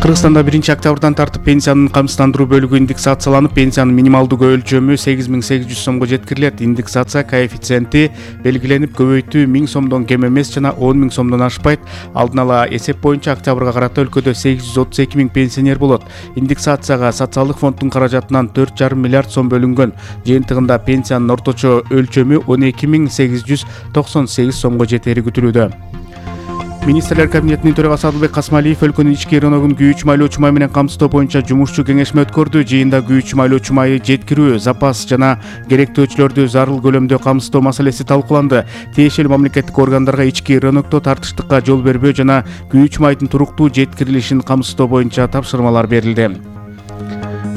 Кыргызстанда 1-октябрдан тартып пенсиянын камсыздандыруу бөлүгү индексацияланып, пенсиянын минималдуу өлчөмү 8800 сомго жеткирилет. Индексация коэффициенти белгиленип, көбөйтүү 1000 сомдон кем эмес жана 10 000 сомдон ашпайт. Алдын ала эсеп боюнча октябрга карата өлкөдө 832 000 пенсионер болот. Индексацияга социалдык фонддун каражатынан 4,5 миллиард сом бөлүнгөн. Жыйынтыгында пенсиянын орточо өлчөмү 12 898 сомго жетери күтүлүүдө. Министрлер кабинетинин төрагасы Адылбек Касмалиев өлкөнүн ички рыногун күйүүчү майлоочу май менен камсыздоо боюнча жумушчу кеңешме өткөрдү. Жыйында күйүүчү майлоочу майы жеткирүү, запас жана керектөөчүлөрдү зарыл көлөмдө камсыздоо маселеси талкууланды. Тиешелүү мамлекеттик органдарга ички рынокто тартыштыкка жол бербөө жана күйүүчү майдын туруктуу жеткирилишин камсыздоо боюнча тапшырмалар берилди.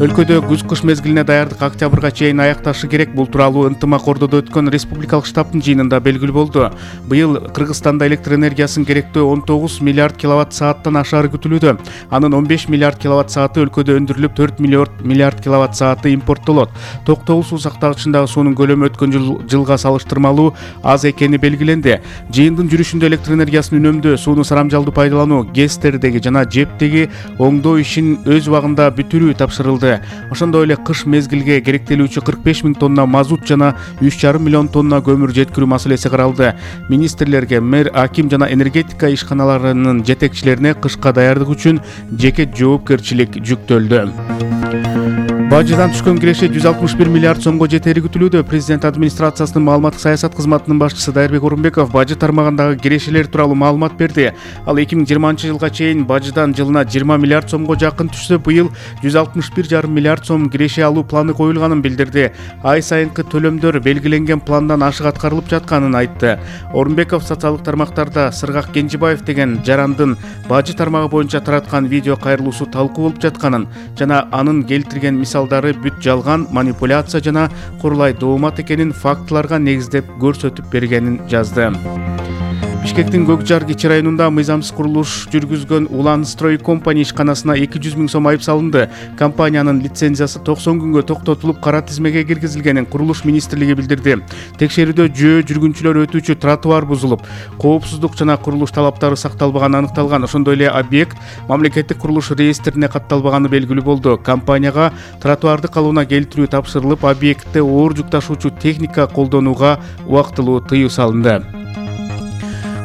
Өлкөдө күз-кыш мезгилине даярдык октябрга чейин аякташы керек. Бул тууралуу ынтымак Ордодо өткөн республикалык штабтын жыйынында белгилүү болду. Быйыл Кыргызстанда электр энергиясын керектөө 19 миллиард киловатт сааттан ашаары күтүлүүдө. Анын 15 миллиард киловатт сааты өлкөдө өндүрүлүп, 4 миллиард киловатт сааты импорттолот. Токтогул суу сактагычындагы суунун көлөмү өткөн жылга салыштырмалуу аз экени белгиленди. Жыйындын жүрүшүндө электр энергиясын үнөмдөө, сууну сарамжалдуу пайдалануу, ГЭСтердеги жана ЖЭПтеги оңдоо ишин өз убагында бүтүрүү тапшырылды. Ошондой эле кыш мезгилге керектелүүчү 45 000 тонна мазут жана 3,5 миллион тонна көмүр жеткирүү маселеси каралды. Министрлерге, мэр, аким жана энергетика ишканаларынын жетекчилерине кышка даярдык үчүн жеке жоопкерчилик жүктөлдү. Бажыдан түшкөн киреше 161 миллиард сомго жетери күтүлүүдө. Президент администрациясынын маалыматтык саясат кызматынын башчысы Дайырбек Орунбеков бажы тармагындагы кирешелер тууралуу маалымат берди. Ал 2020-жылга чейин бажыдан жылына 20 миллиард сомго жакын түшсө, быйыл 161,5 миллиард сом киреше алуу планы коюлганын билдирди. Ай сайынкы төлөмдөр белгиленген пландан ашык аткарылып жатканын айтты. Орунбеков социалдык тармактарда Сыргак Кенжебаев деген жарандын бажы тармагы боюнча тараткан видео кайрылуусу талкуу болуп жатканын жана анын келтирген мисалдары бүт жалган, манипуляция жана курулай доомат экенин фактыларга негиздеп көрсөтүп бергенин жазды. Бишкектин Көкжар кичи районунда мыйзамсыз курулуш жүргүзгөн Улан Строй компания ишканасына 200 000 сом айып салынды. Компаниянын лицензиясы 90 күнгө токтотулуп, кара тизмеге киргизилгенин Курулуш министрлиги билдирди. Текшерүүдө жөө жүргүнчүлөр өтүүчү тротуар бузулуп, коопсуздук жана курулуш талаптары сакталбаганы аныкталган. Ошондой эле объект мамлекеттик курулуш реестрине катталбаганы белгилүү болду. Компанияга тротуарды калыбына келтирүү тапшырылып, объектте оор жүк ташуучу техника колдонууга убактылуу тыюу салынды.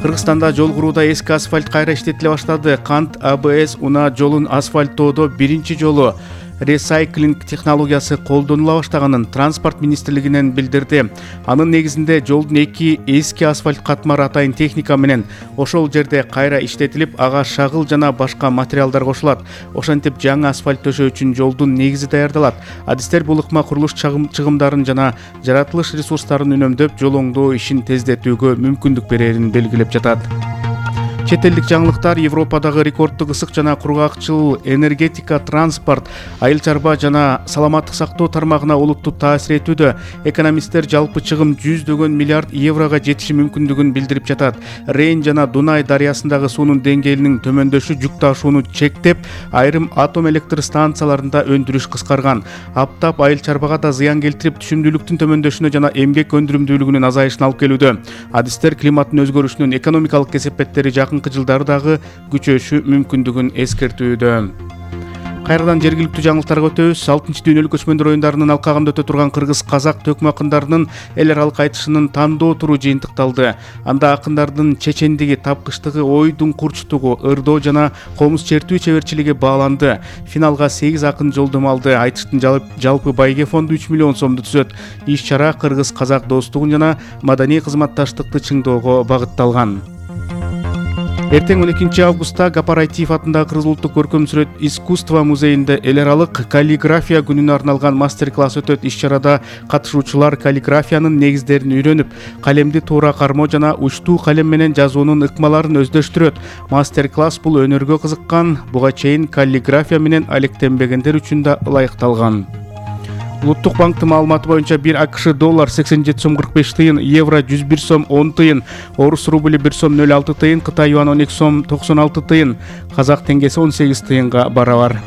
Кыргызстанда жол курууда эски асфальт кайра иштетиле баштады. Кант АБС унаа жолун асфальттоодо биринчи жолу ресайклинг технологиясы колдонула баштаганын Транспорт министрлигинен билдирди. Анын негизинде жолдун эки эски асфальт катмары атайын техника менен ошол жерде кайра иштетилип, ага шагыл жана башка материалдар кошулат. Ошентип жаңы асфальт төшөө үчүн жолдун негизи даярдалат. Адистер бул ыкма курулуш чыгымдарын жана жаратылыш ресурстарын үнөмдөп, жол оңдоо ишин тездетүүгө мүмкүндүк берерин белгилеп жатат. Чет элдик жаңылыктар: Европадагы рекорддук ысык жана кургакчыл энергетика, транспорт, айыл чарба жана саламаттык сактоо тармагына олуттуу таасир этүүдө. Экономисттер жалпы чыгым 100 миллиард еврого жетиши мүмкүндүгүн билдирип жатат. Рейн жана Дунай дарыясындагы суунун деңгээлинин төмөндөшү жүк ташууну чектеп, айрым атом электр станцияларында өндүрүш кыскарган. Аптап айыл чарбага да зыян келтирип, түшүмдүүлүктүн төмөндөшүнө жана эмгек өндүрүмдүүлүгүнүн азайышына алып келүүдө. Адистер климаттын өзгөрүшүнүн экономикалык кесепеттери жылдары дагы күчөшү мүмкүндүгүн эскертүүдө. Кайрадан жергиликтүү жаңылыктарга өтөбүз. 6-дүйнөлүк көчмөндөр оюндарынын алкагында өтө турган кыргыз-казак төкмө акындарынын эл аралык айтышынын тандоо туру жыйынтыкталды. Анда акындардын чечендиги, тапкычтыгы, ойдун курчтугу, ырдоо жана комуз чертүү чеберчилиги бааланды. Финалга 8 акын жолдомо алды. Айтыштын жалпы байге фонду 3 миллион сомду түзөт. Иш-чара кыргыз-казак достугун жана маданий кызматташтыкты чыңдоого багытталган. Эртең 12 августта Гапар Айтиев атындагы Кыргыз улуттук көркөм сүрөт искусство музейинде эл аралык каллиграфия күнүнө арналган мастер-класс өтөт. Иш-чарада катышуучулар каллиграфиянын негиздерин үйрөнүп, калемди туура кармоо жана учтуу калем менен жазуунун ыкмаларын өздөштүрөт. Мастер-класс бул өнөргө кызыккан, буга чейин каллиграфия менен алектенбегендер үчүн да ылайыкталган. Улуттук банктын маалыматы боюнча 1 АКШ доллар 87 сом 45 тыйын, евро 101 сом 10 тыйын, орус рубли 1 сом 06 тыйын, Кытай юан 12 сом 96 тыйын, казак теңгеси 18 тыйынга барабар.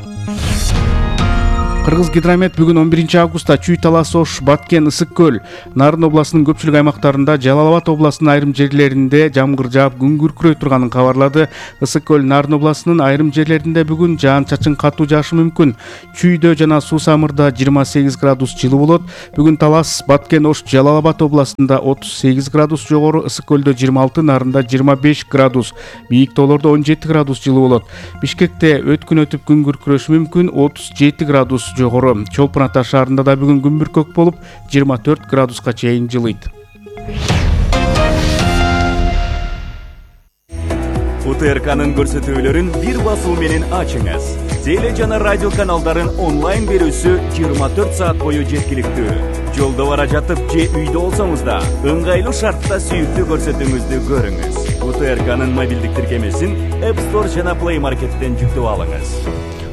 Кыргыз Гидромет бүгүн 11 августта Чүй, Талас, Ош, Баткен, Ысык көл, Нарын областынын көпчүлүк аймактарында, Жалал Абад областынын айрым жерлеринде жамгыр жаап күн күркүрөй турганын кабарлады. Ысык көл, Нарын областынын айрым жерлеринде бүгүн жаан-чачын катуу жаашы мүмкүн. Чүйдө жана Суу Самырда 28 градус жылуу болот. Бүгүн Талас, Баткен, Ош, Жалал Абад областында 38 градус жогору, Ысык көлдө 26, Нарында 25 градус, бийик тоолордо 17 градус жылуу болот. Бишкекте өткүн өтүп күн күркүрөшү мүмкүн, 37 градус жогору. Чолпон Ата шаарында да бүгүн күн бүркөк болуп 24 градуска чейин жылыйт. УТРКнын көрсөтүүлөрүн бир басуу менен ачыңыз. Теле жана радио каналдарын онлайн берүүсү 24 саат бою жеткиликтүү. Жолдо бара жатып же үйдө болсоңуз да ыңгайлуу шартта сүйүктүү көрсөтүүңүздү көрүңүз. УТРКнын мобилдик тиркемесин App Store жана Play Market'тен жүктөп алыңыз.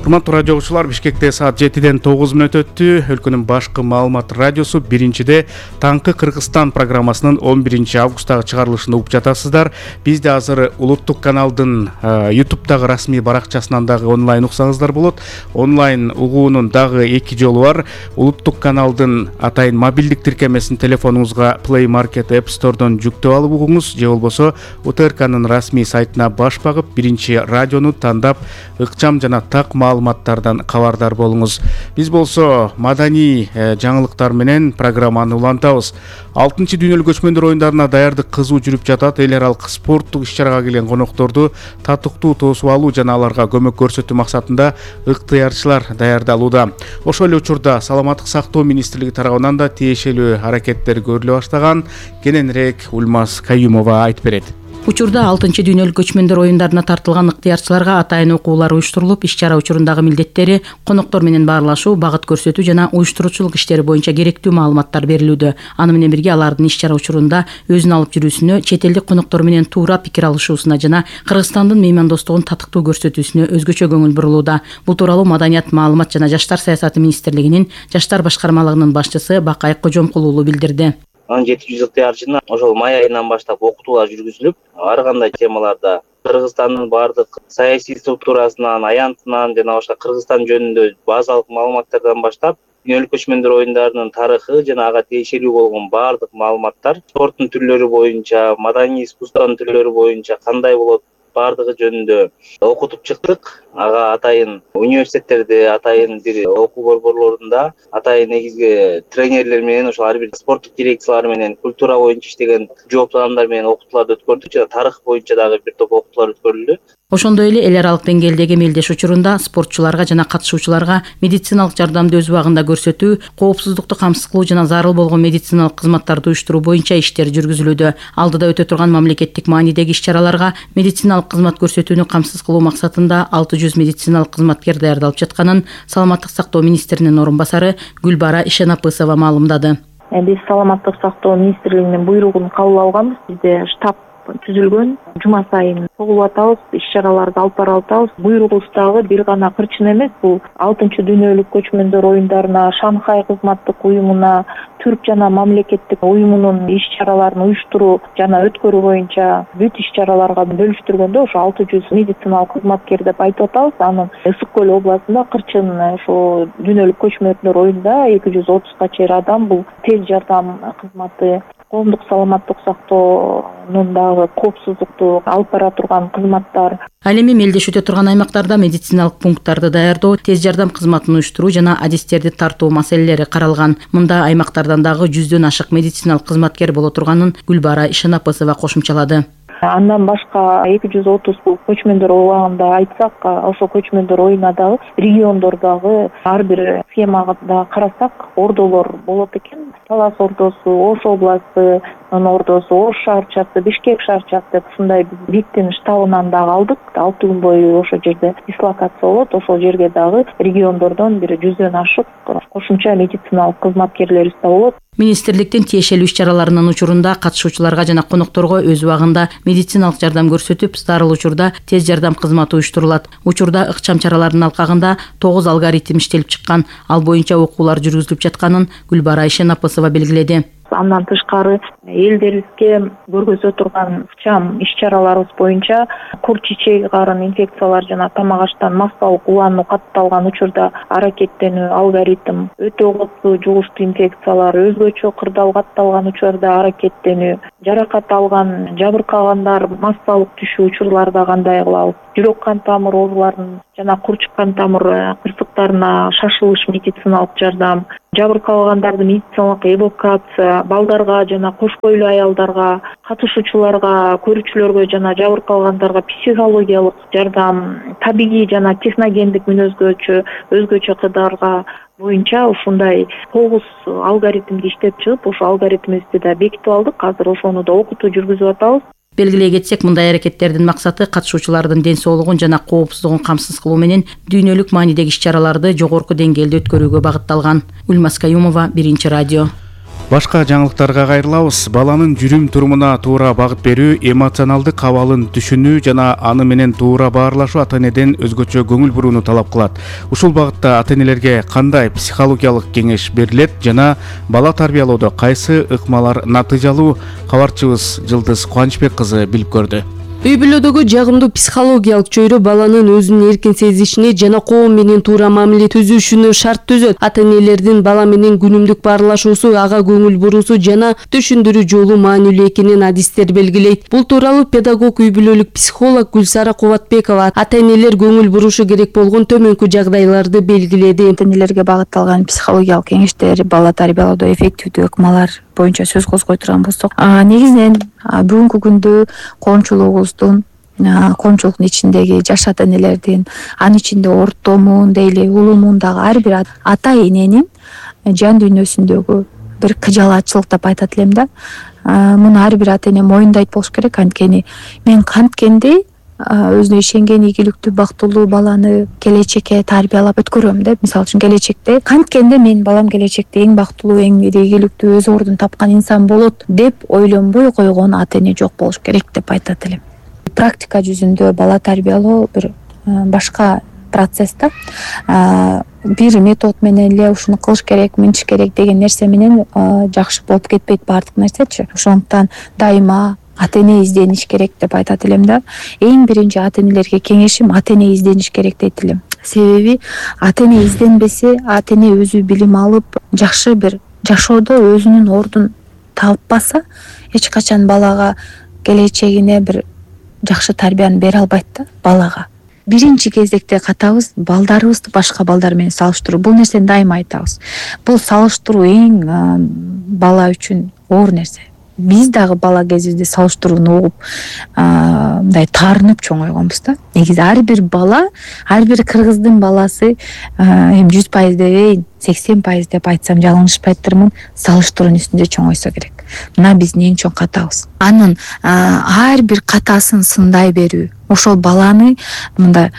Урматтуу радио окуучулар, Бишкекте саат 7-ден 9 мүнөт өттү. Өлкөнүн башкы маалымат радиосу биринчиде Таңкы Кыргызстан программасынын 11 августтагы чыгарылышын угуп жатасыздар. Бизде азыр улуттук каналдын YouTube'дагы расмий баракчасынан дагы онлайн уксаңыздар болот. Онлайн угуунун дагы 2 жолу бар. Улуттук каналдын атайын мобилдик тиркемесин телефонуңузга Play Market App Store'дон жүктөп алып угуңуз, же болбосо УТРКнын расмий сайтына баш багып, биринчи радиону тандап, ыкчам жана так маалыматтардан кабардар болуңуз. Биз болсо маданий жаңылыктар менен программаны улантабыз. 6-чы дүйнөлүк көчмөндөр оюндарына даярдык кызуу жүрүп жатат. Эл аралык спорттук иш-чарага келген конокторду татыктуу тосуп алуу жана аларга көмөк көрсөтүү максатында ыктыярчылар даярдалууда. Ошол эле учурда Саламаттык сактоо министрлиги тарабынан да тиешелүү аракеттер көрүлө баштаган. Кененирээк Ульмаз Каюмова айтып берет. Учурда 6-чы дүйнөлүк көчмөндөр оюндарына тартылган ыктыярчыларга атайын окуулар уюштурулуп, иш-чара учурундагы милдеттери, коноктор менен баарлашуу, багыт көрсөтүү жана уюштуруучулук иштери боюнча керектүү маалыматтар берилүүдө. Аны менен бирге алардын иш-чара учурунда өзүн алып жүрүүсүнө, чет элдик коноктор менен туура пикир алышуусуна жана Кыргызстандын меймандостугун татыктуу көрсөтүүсүнө өзгөчө көңүл бурулууда. Бул тууралуу Маданият, маалымат жана жаштар саясаты министрлигинин жаштар башкармалыгынын башчысы Бакай Кожомкул уулу билдирди. 1700 ыктыярчыны ошол май айынан баштап окутуулар жүргүзүлүп, ар кандай темаларда Кыргызстандын бардык саясий структурасынан, аянтынан жана башка Кыргызстан жөнүндө базалык маалыматтардан баштап, дүйнөлүк көчмөндөр оюндарынын тарыхы жана ага тиешелүү болгон бардык маалыматтар, спорттун түрлөрү боюнча, маданий искусствонун түрлөрү боюнча кандай болот, бардыгы жөнүндө окутуп чыктык. Ага атайын университеттерде, атайын бир окуу борборлорунда, атайын негизги тренерлер менен, ошол ар бир спорттук дирекциялар менен, культура боюнча иштеген жооптуу адамдар менен окутууларды өткөрдүк жана тарых боюнча дагы бир топ окутуулар өткөрүлдү. Ошондой эле эл аралык деңгээлдеги мелдеш учурунда спортчуларга жана катышуучуларга медициналык жардамды өз убагында көрсөтүү, коопсуздукту камсыз кылуу жана зарыл болгон медициналык кызматтарды уюштуруу боюнча иштер жүргүзүлүүдө. Алдыда өтө турган мамлекеттик маанидеги иш-чараларга медициналык кызмат көрсөтүүнү камсыз кылуу максатында 600 медициналык кызматкер даярдалып жатканын Саламаттык сактоо министринин орун басары Гүлбара Ишенапысова маалымдады. Биз Саламаттык сактоо министрлигинин буйругун кабыл алганбыз. Бизде штаб түзүлгөн. Жума сайын чогулуп атабыз, иш-чараларды алып бара атабыз. Буйругубуз дагы бир гана кырчын эмес, бул 6-чы дүйнөлүк көчмөндөр оюндарына, Шанхай кызматтык уюмуна, Түрк жана мамлекеттик уюмунун иш-чараларын уюштуруу жана өткөрүү боюнча бүт иш-чараларга бөлүштүргөндө ошо 600 медициналык кызматкер деп айтып атабыз. Анын Ысык көл областында кырчын ошо дүйнөлүк көчмөндөр оюнда 230га чейин адам бул тез жардам кызматы, коомдук саламаттык сактоонун дагы коопсуздукту алып бара турган кызматтар. Ал эми мелдеш өтө турган аймактарда медициналык пункттарды даярдоо, тез жардам кызматын уюштуруу жана адистерди тартуу маселелери каралган. Мында аймактардан дагы 100дөн ашык медициналык кызматкер боло турганын Гүлбара Ишенапысова кошумчалады. Андан башка 230 көчмөндөр убагында айтсак, ошол көчмөндөр оюна дагы региондордогу ар бир схемада карасак, ордолор болот экен. Талас ордосу, Ош областы ордосу, Ош шаарчасы, Бишкек шаарчасы деп ушундай биктин штабынан дагы алдык. 6 күн бою ошол жерде дислокация болот. Ошол жерге дагы региондордон бир 100дөн ашык кошумча медициналык кызматкерлерибиз да болот. Министрликтин тиешелүү иш-чараларынын учурунда катышуучуларга жана конокторго өз убагында медициналык жардам көрсөтүп, зарыл учурда тез жардам кызматы уюштурулат. Учурда ыкчам чаралардын алкагында 9 алгоритм иштелип чыккан. Ал боюнча окуулар жүргүзүлүп жатканын Гүлбара Ишенапысова белгиледи. Андан тышкары элдерибизге көргөзө турган ыкчам иш-чараларыбыз боюнча курт чечеги карын инфекциялар жана тамак аштан массалык улануу катталган учурда аракеттенүү алгоритм, өтө кооптуу жугуштуу инфекциялар, өзгөчө кырдаал катталган учурда аракеттенүү, жаракат алган, жабыркагандар массалык түшүү учурларда кандай кылабыз, жүрөк кан тамыр ооруларын жана курчук кан тамыр кырсыктарына шашылыш медициналык жардам, жабыркалгандарды медициналык эвакуация, балдарга жана кош бойлуу аялдарга, катышуучуларга, көрүүчүлөргө жана жабыркалгандарга психологиялык жардам, табигый жана техногендик мүнөзгө өзгөчө кырдаалга боюнча ушундай 9 алгоритмди иштеп чыгып, ошол алгоритмибизди да бекитип алдык. Азыр ошону да окутуу жүргүзүп атабыз. Белгилей кетсек, мындай аракеттердин максаты катышуучулардын ден соолугун жана коопсуздугун камсыз кылуу менен дүйнөлүк маанидеги иш-чараларды жогорку деңгээлде өткөрүүгө багытталган. Ульмас Каюмова, Биринчи радио. Башка жаңылыктарга кайрылабыз. Баланын жүрүм-турумуна туура багыт берүү, эмоционалдык абалын түшүнүү жана аны менен туура баарлашуу ата-энеден өзгөчө көңүл бурууну талап кылат. Ушул багытта ата-энелерге кандай психологиялык кеңеш берилет жана бала тарбиялоодо кайсы ыкмалар натыйжалуу? Кабарчыбыз Жылдыз Кубанычбек кызы билип көрдү. Үй-бүлөдөгү жагымдуу психологиялык чөйрө баланын өзүн эркин сезишине жана коом менен туура мамиле түзүшүнө шарт түзөт. Ата-энелердин бала менен күнүмдүк баарлашуусу, ага көңүл буруусу жана түшүндүрүү жолу маанилүү экенин адистер белгилейт. Бул тууралуу педагог, үй-бүлөлүк психолог Гүлсара Кубатбекова ата-энелер көңүл бурушу керек болгон төмөнкү жагдайларды белгиледи. Ата-энелерге багытталган психологиялык кеңештер, бала тарбиялоодо эффективдүү ыкмалар боюнча сөз козгой турган болсок, негизинен бүгүнкү күндө коомчулугубуздун коомчулуктун ичиндеги жаш ата-энелердин, анын ичинде ортомун дейли улумундагы ар бир ата-эненин жан дүйнөсүндөгү бир кыжалаатчылык деп айтат элем да. Муну ар бир ата-эне моюндайт болуш керек. Анткени мен канткенди өзүнө ишенген ийгиликтүү бактылуу баланы келечекке тарбиялап өткөрөм деп. Мисалы үчүн келечекте канткенде менин балам келечекте эң бактылуу, эң ийгиликтүү, өз ордун тапкан инсан болот деп ойлонбой койгон ата-эне жок болуш керек деп айтат элем. Практика жүзүндө бала тарбиялоо бир башка процесс да. Бир метод менен эле ушуну кылыш керек, мынтиш керек деген нерсе менен жакшы болуп кетпейт баардык нерсечи. Ошондуктан дайыма ата-эне издениш керек деп айтат элем да. Эң биринчи ата-энелерге кеңешим ата-эне издениш керек дейт элем. Себеби ата-эне изденбесе, ата-эне өзү билим алып, жакшы бир жашоодо өзүнүн ордун таппаса, эч качан балага келечегине бир жакшы тарбияны бере албайт да балага. Биринчи кезекте катабыз балдарыбызды башка балдар менен салыштыруу. Бул нерсени дайыма айтабыз. Бул салыштыруу эң бала үчүн оор нерсе. Биз дагы бала кезибизде салыштырууну угуп, мындай таарынып чоңойгонбуз да. Негизи ар бир бала, ар бир кыргыздын баласы, эми 100% дебейин, 80% деп айтсам жалынышпайттырмын, салыштыруунун үстүндө чоңойсо керек. Мына биздин эң чоң катабыз. Анын ар бир катасын сындай берүү, ошол баланы мындай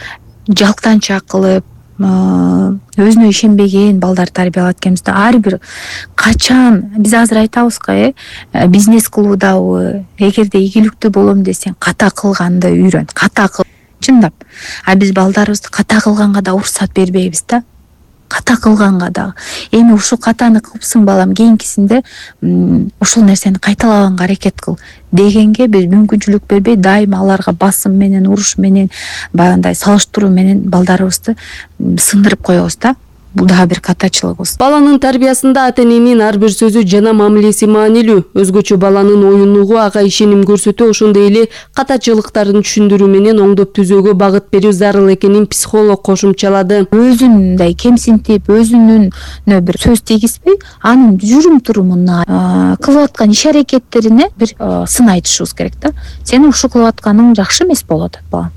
жалтанчак кылып, өзүнө ишенбеген балдар тарбиялап аткенбизде ар бир качан биз азыр айтабызго, бизнес кылуудабы, эгерде ийгиликтүү болом десең, ката кылганды үйрөн, ката кыл. Чындап. Биз балдарыбызды ката кылганга да уруксат бербейбиз да. Ката кылганга да. Эми ушул катаны кылыпсың балам, кийинкисинде ушул нерсени кайталабаганга аракет кыл дегенге биз мүмкүнчүлүк бербей, дайыма аларга басым менен, уруш менен, баягындай салыштыруу менен балдарыбызды сындырып коебуз да. Бул дагы бир катачылыгыбыз. Баланын тарбиясында ата-эненин ар бир сөзү жана мамилеси маанилүү. Өзгөчө баланын оюнугу, ага ишеним көрсөтүү, ошондой эле катачылыктарын түшүндүрүү менен оңдоп түзөөгө багыт берүү зарыл экенин психолог кошумчалады. Өзүн мындай кемсинтип, өзүнүн бир сөз тийгизбей, анын жүрүм-турумуна, кылып аткан иш-аракеттерине бир сын айтышыбыз керек да. Сен ушул кылып атканың жакшы эмес болуп атат балам.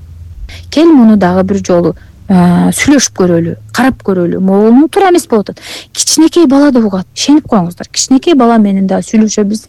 Кел муну дагы бир жолу сүйлөшүп көрөлү, карап көрөлү. Могулуу туура эмес болуп атат. Кичинекей бала да угат. Ишенип коюңуздар. Кичинекей бала менен да сүйлөшөбүз.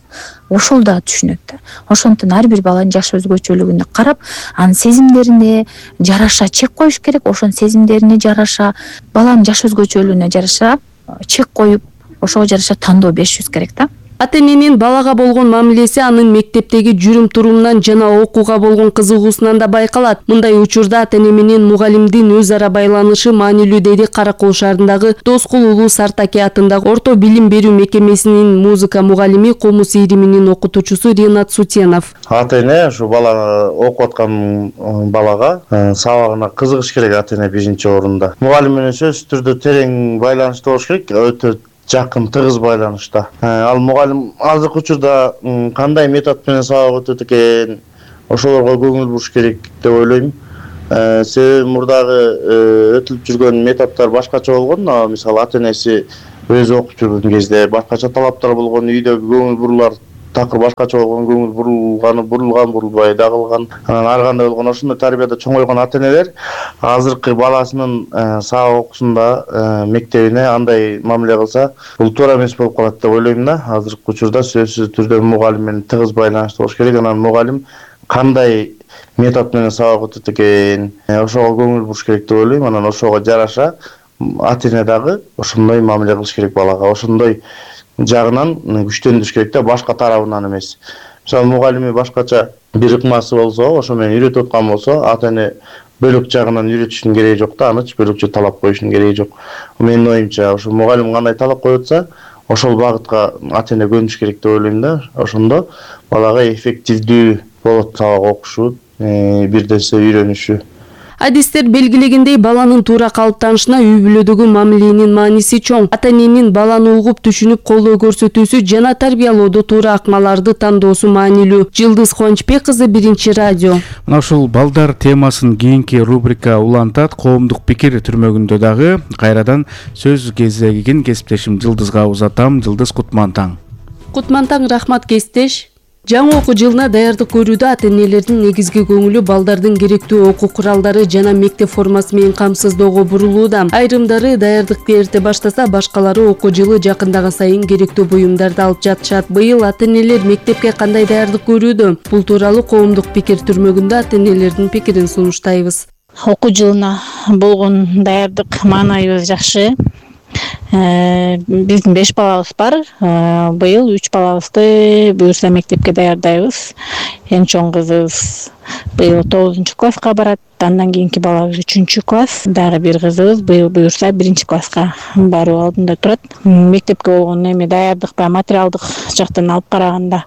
Ошол да түшүнөт да. Ошондуктан ар бир баланын жаш өзгөчөлүгүнө карап, анын сезимдерине жараша чек коюш керек. Ошонун сезимдерине жараша, баланын жаш өзгөчөлүгүнө жараша чек коюп, ошого жараша тандоо беришибиз керек да. Ата эненин балага болгон мамилеси анын мектептеги жүрүм турумунан жана окууга болгон кызыгуусунан да байкалат. Мындай учурда ата эне менен мугалимдин өз ара байланышы маанилүү, деди Кара Кол шаарындагы Доскул Улуу Сартаке атындагы орто билим берүү мекемесинин музыка мугалими, комуз ириминин окутуучусу Ренат Сутенов. Ата эне ушу бала окуп аткан балага сабагына кызыгыш керек. Ата эне биринчи орунда. Мугалим менен сөзсүз түрдө терең байланышта болуш керек, өтө жакын, тыгыз байланышта. Ал мугалим азыркы учурда кандай метод менен сабак өтөт экен, ошолорго көңүл буруш керек деп ойлойм. Себеби мурдагы өтүлүп жүргөн методдор башкача болгон. Мисалы ата энеси өзү окуп жүргөн кезде башкача талаптар болгон, үйдөгү көңүл бурулар такыр башкача болгон, көңүл бурулбай да калган. Ар кандай болгон ошондой тарбияда чоңойгон ата энелер азыркы баласынын сабак окуусунда мектебине андай мамиле кылса, бул туура эмес болуп калат деп ойлойм да. Азыркы учурда сөзсүз түрдө мугалим менен тыгыз байланышта болуш керек. Анан мугалим кандай метод менен сабак өтөт экен, ошого көңүл буруш керек деп ойлойм. Анан ошого жараша ата эне дагы ошондой мамиле кылыш керек балага. Ошондой жагынан күчтөндүрүш керек да, башка тарабынан эмес. Мисалы мугалими башкача бир ыкмасы болсо, ошо менен үйрөтүп аткан болсо, ата эне бөлөк жагынан үйрөтүшүнүн кереги жок да, аны бөлөкчө талап коюшунун кереги жок. Менин оюмча, ошо мугалим кандай талап коюп атса, ошол багытка ата эне көнүш керек деп ойлойм да. Ошондо балага эффективдүү болот сабак окушу, бир нерсе үйрөнүшү. Адистер белгилегендей, баланын туура калыптанышына үй бүлөдөгү мамиленин мааниси чоң. Ата эненин баланы угуп, түшүнүп, колдоо көрсөтүүсү жана тарбиялоодо туура акмаларды тандоосу маанилүү. Жылдыз Кубанычбек кызы, Биринчи радио. Мына ушул балдар темасын кийинки рубрика улантат. Коомдук пикир түрмөгүндө дагы кайрадан сөз кезегин кесиптешим Жылдызга узатам. Жылдыз, кутман таң. Кутман таң, рахмат кесиптеш. Жаңы окуу жылына даярдык көрүүдө ата энелердин негизги көңүлү балдардын керектүү окуу куралдары жана мектеп формасы менен камсыздоого бурулууда. Айрымдары даярдыкты эрте баштаса, башкалары окуу жылы жакындаган сайын керектүү буюмдарды алып жатышат. Быйыл ата энелер мектепке кандай даярдык көрүүдө? Бул тууралуу коомдук пикир түрмөгүндө ата энелердин пикирин сунуштайбыз. Окуу жылына болгон даярдык маанайыбыз жакшы. Биздин 5 балабыз бар. Быйыл 3 балабызды буюрса мектепке даярдайбыз. Эң чоң кызыбыз быйыл 9 класска барат. Андан кийинки балабыз 3 класс. Дагы бир кызыбыз быйыл буюрса 1 класска баруу алдында турат. Мектепке болгон эми даярдык баягы материалдык жактан алып караганда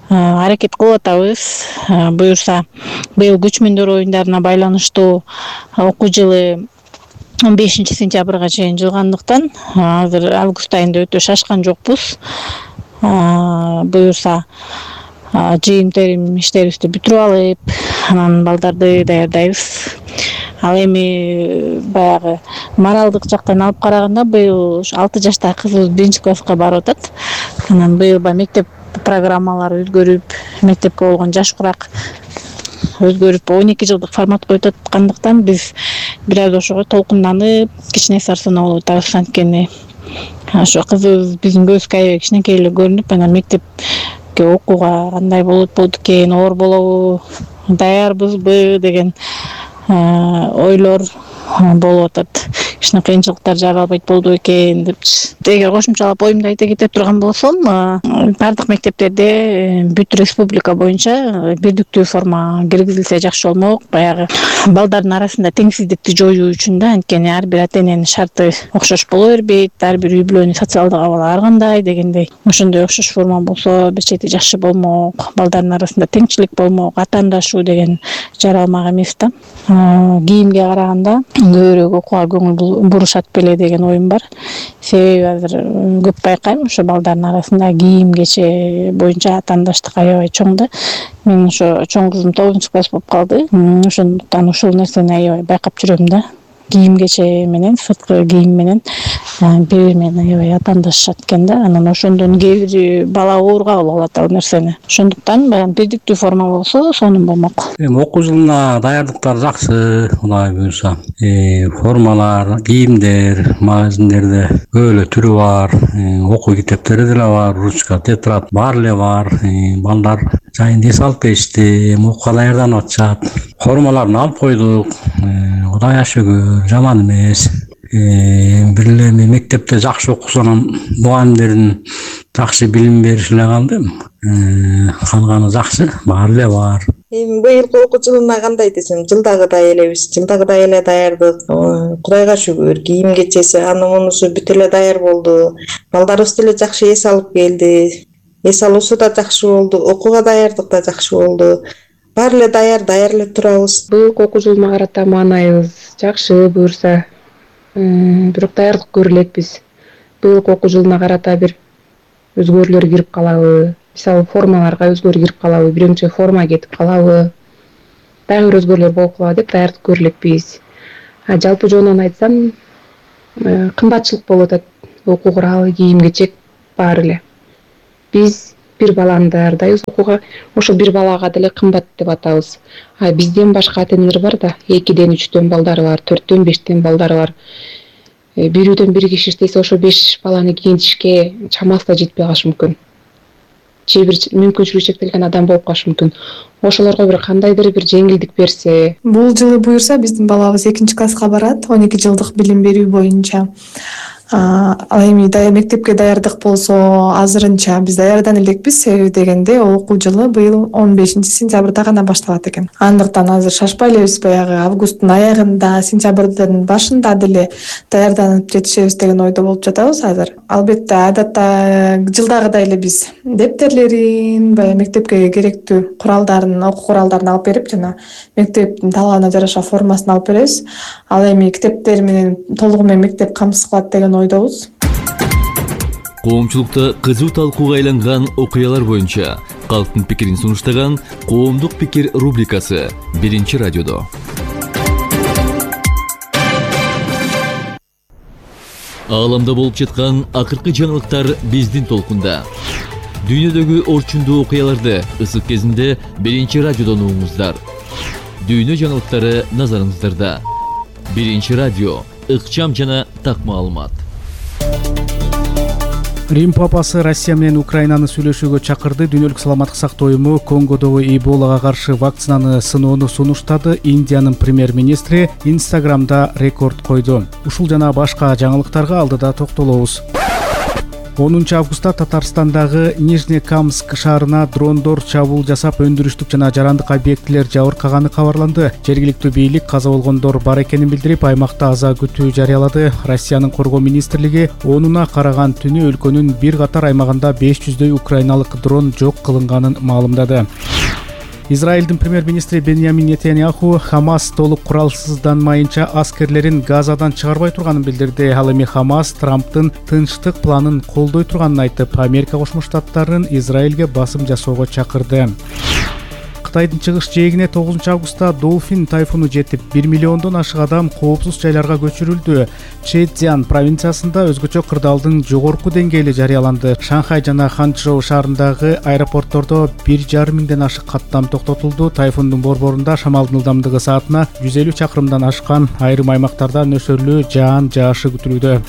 аракет кылып атабыз. Буюрса быйыл көчмөндөр оюндарына байланыштуу окуу жылы 15 сентябрга чейин жылгандыктан азыр август айында өтө шашкан жокпуз. Буюрса жыйын терим иштерибизди бүтүрүп алып, анан балдарды даярдайбыз. Ал эми баягы моралдык жактан алып караганда быйыл 6 жаштагы кызыбыз 1 класска барып атат. Анан быйыл мектеп программалары өзгөрүп, мектепке болгон жаш курак өзгөрүп 12 жылдык форматка өтүп аткандыктан биз бир аз ошого толкунданып, кичине сарсанаа болуп атабыз. Анткени ошо кызыбыз биздин көзгө аябай кичинекей эле көрүнүп, анан мектепке окууга кандай болот экен, оор болобу, даярбызбы деген ойлор болуп атат. Кичине кыйынчылыктар жаралбайт болду экен депчи. Эгер кошумчалап оюмду айта кете турган болсом, бардык мектептерде бүт республика боюнча бирдиктүү форма киргизилсе жакшы болмок. Баягы балдардын арасында теңсиздикти жоюу үчүн да, анткени ар бир ата эненин шарты окшош боло бербейт, ар бир үй бүлөнүн социалдык абалы ар кандай дегендей. Ошондой окшош форма болсо бир чети жакшы болмок, балдардын арасында теңчилик болмок, атаандашуу деген жаралмак эмес да. Кийимге караганда көбүрөөк окууга көңүл бурушат беле деген оюм бар. Себеби азыр көп байкайм, ошо балдардын арасында кийим кече боюнча атаандаштык аябай чоң да. Мен ошо чоң кызым 9 класс болуп калды. Ошондуктан ушул нерсени аябай байкап жүрөм да. Кийим кече менен, сырткы кийим менен бири менен аябай атаандашышат экен да. Анан ошондон кээ бир бала оор кабыл алат ал нерсени. Ошондуктан баягы бирдиктүү форма болсо сонун болмок. Окуу жылына даярдыктар жакшы, кудай буюрса. Формалар, кийимдер, магазиндерде көп эле түрү бар. Окуу китептери деле бар, ручка, тетрадь бар эле бар. Балдар жайын эс алып келишти, окууга даярданып атышат. Формаларын алып койдук. Кудай шүгүр, жаман эмес. бир эле мектепте жакшы окусо анан мугалимдердин жакшы билим бериши эле калды. Калганы жакшы, баары эле бар. Эми быйылкы окуу жылына кандай десем, жылдагыдай элебиз, жылдагыдай эле даярдык. Кудайга шүгүр, кийим кечеси аны мунусу бүт эле даяр болду. Балдарыбыз деле жакшы эс алып келди. Эс алуусу да жакшы болду, окууга даярдык да жакшы болду. Баары эле даяр эле турабыз. Быйылкы окуу жылына карата маанайыбыз жакшы буюрса. Бирок даярдык көрө элекпиз. Быйылкы окуу жылына карата бир өзгөрүүлөр кирип калабы? Мисалы формаларга өзгөрүү кирип калабы? Биринчи форма кетип калабы? Дагы бир өзгөрүүлөр болуп калабы деп даярдык көрө элекпиз. Жалпы жонунан айтсам, кымбатчылык болуп атат. Окуу куралы, кийим кечек баары эле. Биз бир баланы даярдайбыз окууга, ошол бир балага деле кымбат деп атабыз. Бизден башка ата-энелер бар да, 2-ден 3-төн балдары бар, 4-төн 5-тен балдары бар. Бир үйдөн бир киши иштесе, ошо 5 баланы кийинтишке чамасы да жетпей калышы мүмкүн. Же бир мүмкүнчүлүгү чектелген адам болуп калышы мүмкүн. Ошолорго бир кандайдыр бир жеңилдик берсе. Бул жылы буюрса биздин балабыз 2-класска барат, 12 жылдык билим берүү боюнча. Ал эми мектепке даярдык болсо азырынча биз даярдан элекпиз, себеби дегенде окуу жылы быйыл 15-сентябрда гана башталат экен. Андыктан азыр шашпай элебиз, баягы августтун аягында, сентябрдын башында деле даярданып жетишебиз деген ойдо болуп жатабыз азыр. Албетте адатта жылдагыдай эле биз дептерлерин, баягы мектепке керектүү куралдарын, окуу куралдарын алып берип, жана мектептин талабына жараша формасын алып беребиз. Ал эми китептер менен толугу менен мектеп камсыз кылат деген ойдобуз. Коомчулукта кызуу талкууга айланган окуялар боюнча калктын пикирин сунуштаган Коомдук пикир рубрикасы 1-радиодо. Ааламда болуп жаткан акыркы жаңылыктар биздин толкунда. Дүйнөдөгү орчундуу окуяларды ысык кезинде 1-радиодон угуңуздар. Дүйнө жаңылыктары назарыңыздарда. 1-радио, ыкчам жана так маалымат. Рим папасы Россия менен Украинаны сүйлөшүүгө чакырды. Дүйнөлүк саламаттык сактоо уюму Конгодогу Эболага каршы вакцинаны сыноону сунуштады. Индиянын премьер-министри Инстаграмда рекорд койду. Ушул жана башка жаңылыктарга алдыда токтолобуз. 10 августта Татарстандагы Нижнекамск шаарына дрондор чабуул жасап, өндүрүштүк жана жарандык объектилер жабыркаганы кабарланды. Жергиликтүү бийлик каза болгондор бар экенин билдирип, аймакта аза күтүү жарыялады. Россиянын коргоо министрлиги 10-уна караган түнү өлкөнүн бир катар аймагында 500дөй украиналык дрон жок кылынганын маалымдады. Израилдин премьер-министри Беньямин Нетаньяху Хамас толук куралсызданмайынча аскерлерин Газадан чыгарбай турганын билдирди. Ал эми Хамас Трамптын тынчтык планын колдой турганын айтып, Америка Кошмо Штаттарын Израилге басым жасоого чакырды. Кытайдын чыгыш жээгине 9 августта Долфин тайфуну жетип, 1 миллиондон ашык адам коопсуз жайларга көчүрүлдү. Чжэцзян провинциясында өзгөчө кырдаалдын жогорку деңгээли жарыяланды. Шанхай жана Ханчжоу шаарындагы аэропорттордо 1,5 миңден ашык каттам токтотулду. Тайфундун борборунда шамалдын ылдамдыгы саатына 150 чакырымдан ашкан, айрым аймактарда нөсөрлүү жаан жаашы күтүлүүдө.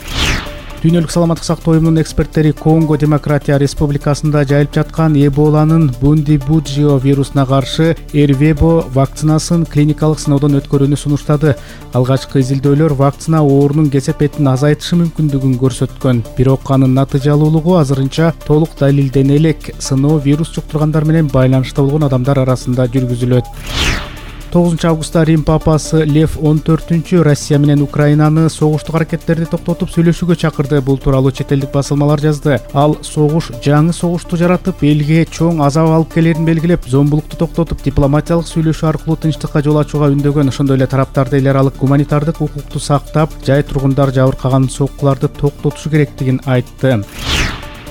Дүйнөлүк саламаттык сактоо уюмунун эксперттери Конго Демократия Республикасында жайылып жаткан Эболанын Бундибуджио вирусуна каршы Эрвебо вакцинасын клиникалык сыноодон өткөрүүнү сунуштады. Алгачкы изилдөөлөр вакцина оорунун кесепетин азайтышы мүмкүндүгүн көрсөткөн. Бирок анын натыйжалуулугу азырынча толук далилдене элек. Сыноо вирус жуктургандар менен байланышта болгон адамдар арасында жүргүзүлөт. 9 августта Рим папасы Лев 14 Россия менен Украинаны согуштук аракеттерди токтотуп сүйлөшүүгө чакырды. Бул тууралуу чет элдик басылмалар жазды. Ал согуш жаңы согушту жаратып, элге чоң азап алып келерин белгилеп, зомбулукту токтотуп, дипломатиялык сүйлөшүү аркылуу тынчтыкка жол ачууга үндөгөн. Ошондой эле тараптарды эл аралык гуманитардык укукту сактап, жай тургундар жабыркаган соккуларды токтотушу керектигин айтты.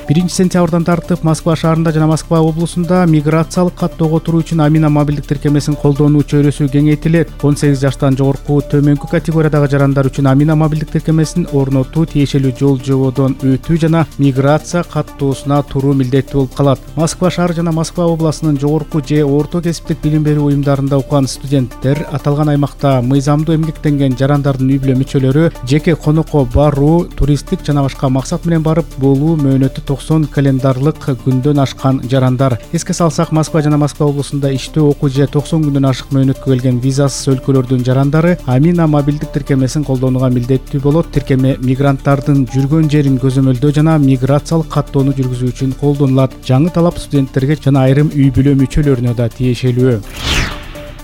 1 сентябрдан тартып Москва шаарында жана Москва облусунда миграциялык каттоого туруу үчүн Амина мобилдик тиркемесин колдонуу чөйрөсү кеңейтилет. 18 жаштан жогорку төмөнкү категориядагы жарандар үчүн Амина мобилдик тиркемесин орнотуу, тиешелүү жол жободон өтүү жана миграция каттоосуна туруу милдеттүү болуп калат. Москва шаары жана Москва областынын жогорку же орто кесиптик билим берүү уюмдарында окуган студенттер аталган аймакта мыйзамдуу эмгектенген жарандардын үй бүлө мүчөлөрү жеке конокко баруу, туристтик жана башка максат менен барып болуу мөөнөтү 90 календарлык күндөн ашкан жарандар. Эске салсак, Москва жана Москва облусунда иштөө, окуу же 90 күндөн ашык мөөнөткө келген визасыз өлкөлөрдүн жарандары Амина мобилдик тиркемесин колдонууга милдеттүү болот. Тиркеме мигранттардын жүргөн жерин көзөмөлдөө жана миграциялык каттоону жүргүзүү үчүн колдонулат. Жаңы талап студенттерге жана айрым үй бүлө мүчөлөрүнө да тиешелүү.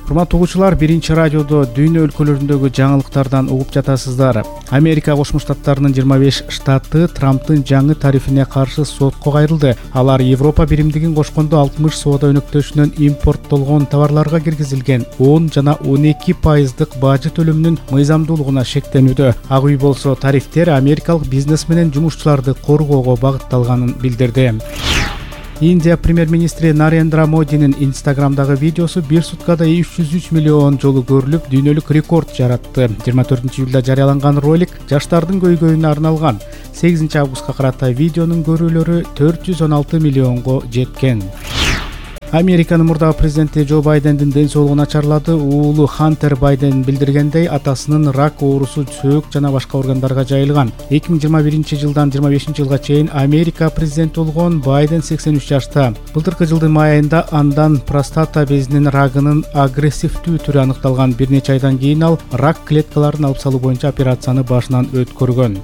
Урматтуу угуучулар, Биринчи радиодо дүйнө өлкөлөрүндөгү жаңылыктардан угуп жатасыздар. Америка Кошмо Штаттарынын 25 штаты Трамптын жаңы тарифине каршы сотко кайрылды. Алар Европа биримдигин кошкондо 60 соода өнөктөшүнөн импорттолгон товарларга киргизилген 10 жана 12% бажы төлөмүнүн мыйзамдуулугуна шектенүүдө. Ак үй болсо тарифтер америкалык бизнес менен жумушчуларды коргоого багытталганын билдирди. Индия премьер-министри Нарендра Модинин Инстаграмдагы видеосу бир суткада 303 миллион жолу көрүлүп, дүйнөлүк рекорд жаратты. 24-июлда жарыяланган ролик жаштардын көйгөйүнө арналган. 8-августка карата видеонун көрүүлөрү 416 миллионго жеткен. Американын мурдагы президенти Джо Байдендин ден соолугу начарлады. Уулу Хантер Байден билдиргендей, атасынын рак оорусу сөөк жана башка органдарга жайылган. 2021-жылдан 25-жылга чейин Америка президенти болгон Байден 83 жашта. Былтыркы жылдын май айында андан простата безинин рагынын агрессивдүү түрү аныкталган. Бир нече айдан кийин ал рак клеткаларын алып салуу боюнча операцияны башынан өткөргөн.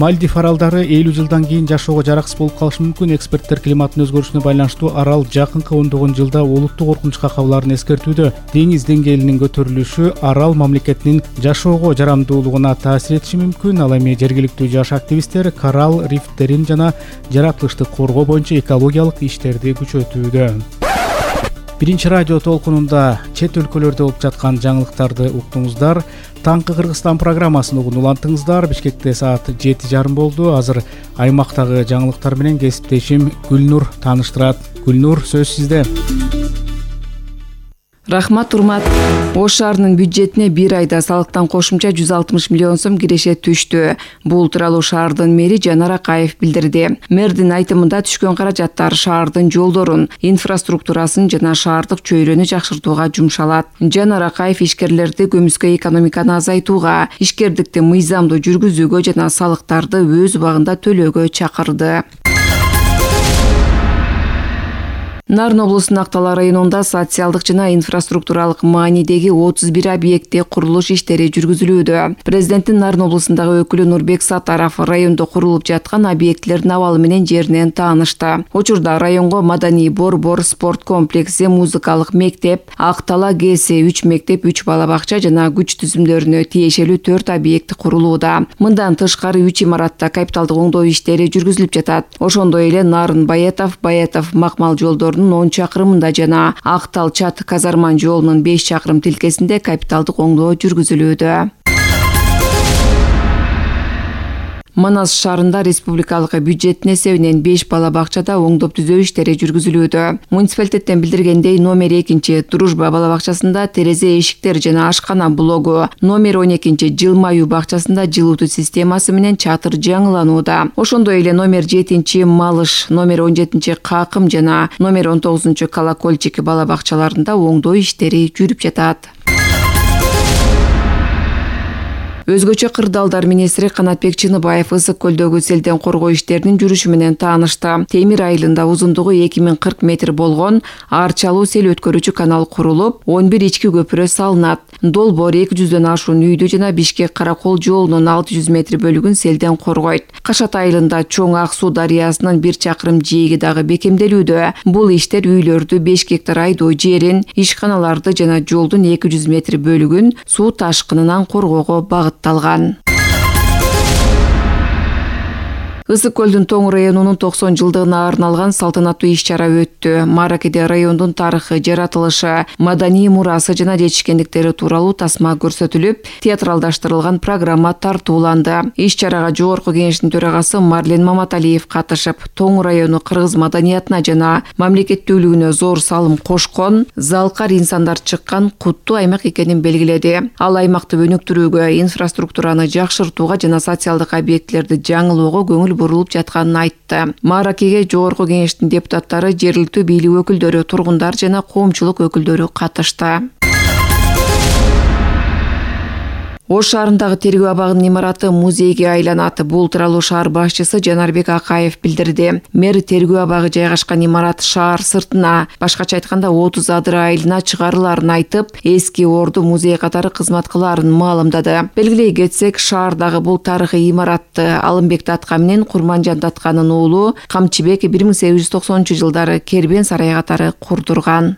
Мальдив аралдары 50 жылдан кийин жашоого жараксыз болуп калышы мүмкүн. Эксперттер климаттын өзгөрүшүнө байланыштуу арал жакынкы 10 жылда олуттук коркунучка кабыларын эскертүүдө. Деңиз деңгээлинин көтөрүлүшү арал мамлекетинин жашоого жарамдуулугуна таасир этиши мүмкүн. Ал эми жергиликтүү жаш активисттер коралл рифттерин жана жаратылышты коргоо боюнча экологиялык иштерди күчөтүүдө. Биринчи радио толкунунда чет өлкөлөрдө болуп жаткан жаңылыктарды уктуңуздар. Таңкы Кыргызстан программасын угуп улантыңыздар. Бишкекте саат 7:30 болду. Азыр аймактагы жаңылыктар менен кесиптешим Гүлнур тааныштырат. Гүлнур, сөз сизде. Рахмат, урмат. Ош шаарынын бюджетине бир айда салыктан кошумча 160 миллион сом киреше түштү. Бул тууралуу шаардын мэри Жанар Акаев билдирди. Мэрдин айтымында түшкөн каражаттар шаардын жолдорун, инфраструктурасын жана шаардык чөйрөнү жакшыртууга жумшалат. Жанар Акаев ишкерлерди көмүскө экономиканы азайтууга, ишкердикти мыйзамдуу жүргүзүүгө жана салыктарды өз убагында төлөөгө чакырды. Нарын облусунун Актала районунда социалдык жана инфраструктуралык маанидеги 31 объектте курулуш иштери жүргүзүлүүдө. Президенттин Нарын облусундагы өкүлү Нурбек Сатаров райондо курулуп жаткан объектлердин абалы менен жеринен таанышты. Учурда районго маданий борбор, спорт комплекси, музыкалык мектеп, Актала ГС 3 мектеп, 3 бала бакча жана күч түзүмдөрүнө тиешелүү 4 объект курулууда. Мындан тышкары 3 имаратта капиталдык оңдоо иштери жүргүзүлүп жатат. Ошондой эле Нарын Баятов Макмал жолдорунун 10 чакырымында жана Актал Чат Казарман жолунун 5 чакырым тилкесинде капиталдык оңдоо жүргүзүлүүдө. Манас шаарында республикалык бюджеттин эсебинен 5 бала бакчада оңдоп түзөө иштери жүргүзүлүүдө. Муниципалитеттен билдиргендей, номер 2 Дружба бала бакчасында терезе эшиктер жана ашкана блогу, номер 12 Жылмаюу бакчасында жылуутуу системасы менен чатыр жаңыланууда. Ошондой эле номер 7 Малыш, номер 17 Какым жана номер 19 Колокольчик бала бакчаларында оңдоо иштери жүрүп жатат. Өзгөчө кырдаалдар министри Канатбек Чыныбаев Ысык көлдөгү селден коргоо иштеринин жүрүшү менен таанышты. Темир айылында узундугу 2040 метр болгон арчалуу сел өткөрүүчү канал курулуп, 11 ички көпүрө салынат. Долбоор 200дөн ашуун үйдү жана Бишкек Каракол жолунун 600 метр бөлүгүн селден коргойт. Кашат айылында Чоң Ак суу дарыясынын 1 чакырым жээги дагы бекемделүүдө. Бул иштер үйлөрдү, 5 гектар айдоо жерин, ишканаларды жана жолдун 200 метр бөлүгүн суу ташкынынан коргоого багытталган. Ысык көлдүн Тоң районунун 90 жылдыгына арналган салтанаттуу иш-чара өттү. Маракеде райондун тарыхы, жаратылышы, маданий мурасы жана жетишкендиктери тууралуу тасма көрсөтүлүп, театралдаштырылган программа тартууланды. Иш-чарага Жогорку Кеңештин төрагасы Марлен Маматалиев катышып, Тоң району кыргыз маданиятына жана мамлекеттүүлүгүнө зор салым кошкон, залкар инсандар чыккан куттуу аймак экенин белгиледи. Ал аймакты өнүктүрүүгө, инфраструктураны жакшыртууга жана социалдык объектлерди жаңылоого көңүл бурулуп жатканын айтты. Маракеге Жогорку Кеңештин депутаттары, жергиликтүү бийлик өкүлдөрү, тургундар жана коомчулук өкүлдөрү катышты. Ош шаарындагы тергөө абагынын имараты музейге айланат. Бул тууралуу шаар башчысы Жанарбек Акаев билдирди. Мэр тергөө абагы жайгашкан имарат шаар сыртына, башкача айтканда 30 адыр айылына чыгарыларын айтып, эски орду музей катары кызмат кылаарын маалымдады. Белгилей кетсек, шаардагы бул тарыхый имаратты Алымбек Датка менен Курманжан Датканын уулу Камчыбек 1890-жылдары Кербен сарай катары курдурган.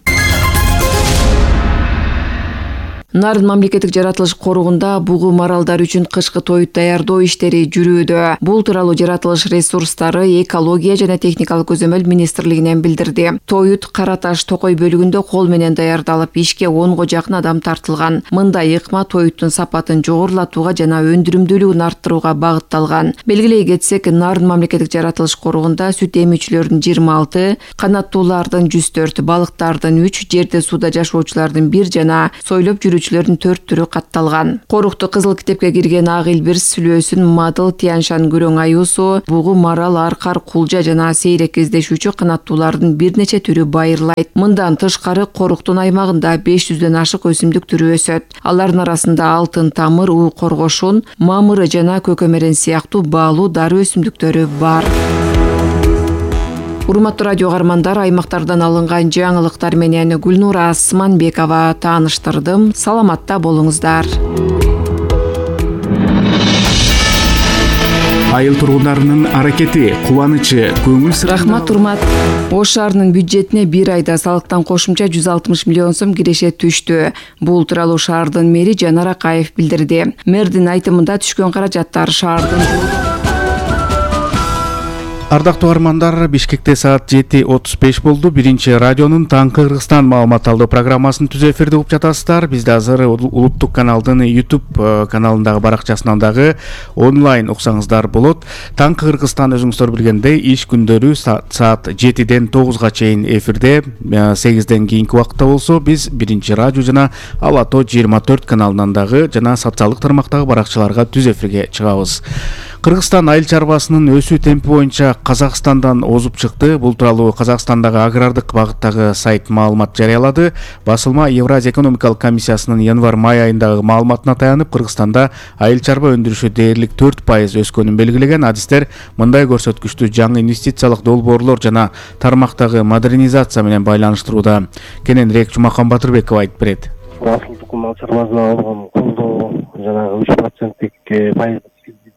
Нарын мамлекеттик жаратылыш коругунда бугу маралдар үчүн кышкы тоют даярдоо иштери жүрүүдө. Бул тууралуу жаратылыш ресурстары, экология жана техникалык көзөмөл министрлигинен билдирди. Тоют Кара Таш Токой бөлүгүндө кол менен даярдалып, ишке 10го жакын адам тартылган. Мындай ыкма тоюттун сапатын жогорулатууга жана өндүрүмдүүлүгүн арттырууга багытталган. Белгилей кетсек, Нарын мамлекеттик жаратылыш коругунда сүт эмүүчүлөрдүн 26, канаттуулардын 104, балыктардын 3, жерде сууда жашоочулардын 1 жана сойлоп жүрүүчүлөрдүн 4 түрү катталган. Корукту кызыл китепке кирген ак илбир, сүлөөсүн, мадыл, тияншан, күрөң аюусу, бугу марал, аркар, кулжа жана сейрек кездешүүчү канаттуулардын бир нече түрү байырлайт. Мындан тышкары коруктун аймагында 500дөн ашык өсүмдүк түрү өсөт. Алардын арасында алтын тамыр, уу коргошун, мамыры жана көкөмөрен сыяктуу баалуу дары өсүмдүктөрү бар. Урматтуу радио каармандар, аймактардан алынган жаңылыктар менен Гүлнура Асманбекова тааныштырдым. Саламатта болуңуздар. Айыл тургундарынын аракети, кубанычы, көңүл сыры. Рахмат, урмат. Ош шаарынын бюджетине бир айда салыктан кошумча 160 миллион сом киреше түштү. Бул тууралуу шаардын мэри Жанар Акаев билдирди. Мэрдин айтымында түшкөн каражаттар шаардын Ардактуу каармандар, Бишкекте саат 7:35 болду. Биринчи радионун Таңкы Кыргызстан маалымат алуу программасын түз эфирде угуп жатасыздар. Бизде азыр улуттук каналдын YouTube каналындагы баракчасынан дагы онлайн уксаңыздар болот. Таңкы Кыргызстан өзүңүздөр билгендей иш күндөрү саат 7ден 9га чейин эфирде, 8ден кийинки убакытта болсо биз биринчи радио жана Алато 24 каналынан дагы жана социалдык тармактагы баракчаларга түз эфирге чыгабыз. Кыргызстан айыл чарбасынын өсүү темпи боюнча Казакстандан озуп чыкты. Бул тууралуу Казакстандагы агрардык багыттагы сайт маалымат жарыялады. Басылма Евразия экономикалык комиссиясынын январь-май айындагы маалыматына таянып, Кыргызстанда айыл чарба өндүрүшү дээрлик 4% өскөнүн белгилеген. Адистер мындай көрсөткүчтү жаңы инвестициялык долбоорлор жана тармактагы модернизация менен байланыштырууда. Кененирээк Жумакан Батырбеков айтып берет. Асыл тукум мал чарбасына алган колдоо жанагы 3% пайыз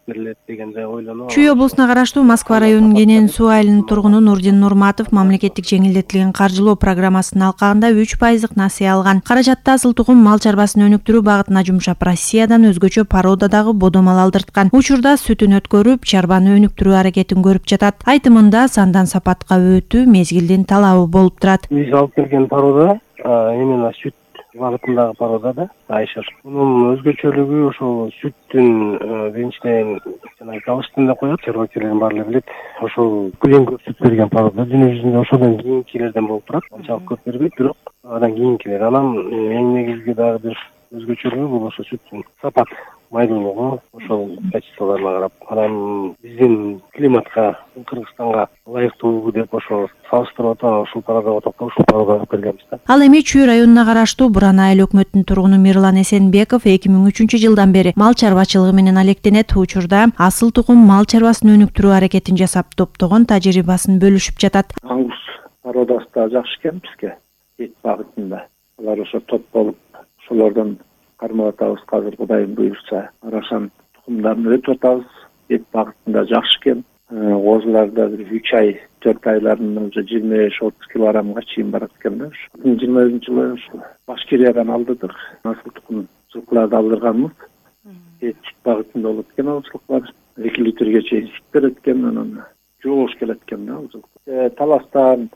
Чүй облусуна караштуу Москва районунун Кенен суу айылынын тургуну Нурдин Нурматов мамлекеттик жеңилдетилген каржылоо программасынын алкагында 3% насыя алган. Каражатты асыл тукум мал чарбасын өнүктүрүү багытына жумшап, Россиядан өзгөчө породадагы бодо мал алдырткан. Учурда сүтүн өткөрүп, чарбаны өнүктүрүү аракетин көрүп жатат. Айтымында сандан сапатка өтүү мезгилдин талабы болуп турат. Биз алып келген порода именно сүт багытындагы порода да, айшыр. Мунун өзгөчөлүгү ошол сүттүн биринчиден жанагы калыштын да коет, чарбачылардын баары билет. Ошол эң көп сүт берген порода дүйнө жүзүндө ошодон кийинкилерден болуп турат. Анчалык көп бербейт, бирок андан кийинкилер. Анан эң негизги дагы бир өзгөчөлүгү бул ошо сүттүн сапат, майдуулугу, ошол качестволоруна карап. Анан биздин климатка, Кыргызстанга ылайыктуу деп ошо салыштырып атып, ушул пародага токтоп, ушул пародага келгенбиз да. Ал эми Чүй районуна караштуу Буран айыл өкмөтүнүн тургуну Мирлан Эсенбеков 2003-жылдан бери мал чарбачылыгы менен алектенет. Учурда асыл тукум мал чарбасын өнүктүрүү аракетин жасап, топтогон тажрыйбасын бөлүшүп жатат. Аңгус пародасы да жакшы экен бизге, эт багытында. Алар ошо топ болуп, ошолордон кармап атабыз. Азыр Кудайым буйрса, арашан тукумдарын өтүп атабыз. Эт багытында жакшы экен. Козуларда 3 ай, 4 айларында уже 25-30 килограммга чейин барат экен да. 2020-жылы Башкириядан алдырдык. Асыл тукум жылкыларды алдырганбыз. Эт багытында болот экен ал жылкылар. 2 литрге чейин сүт берет экен, анан жоош келет экен да ал жылкы. Таластан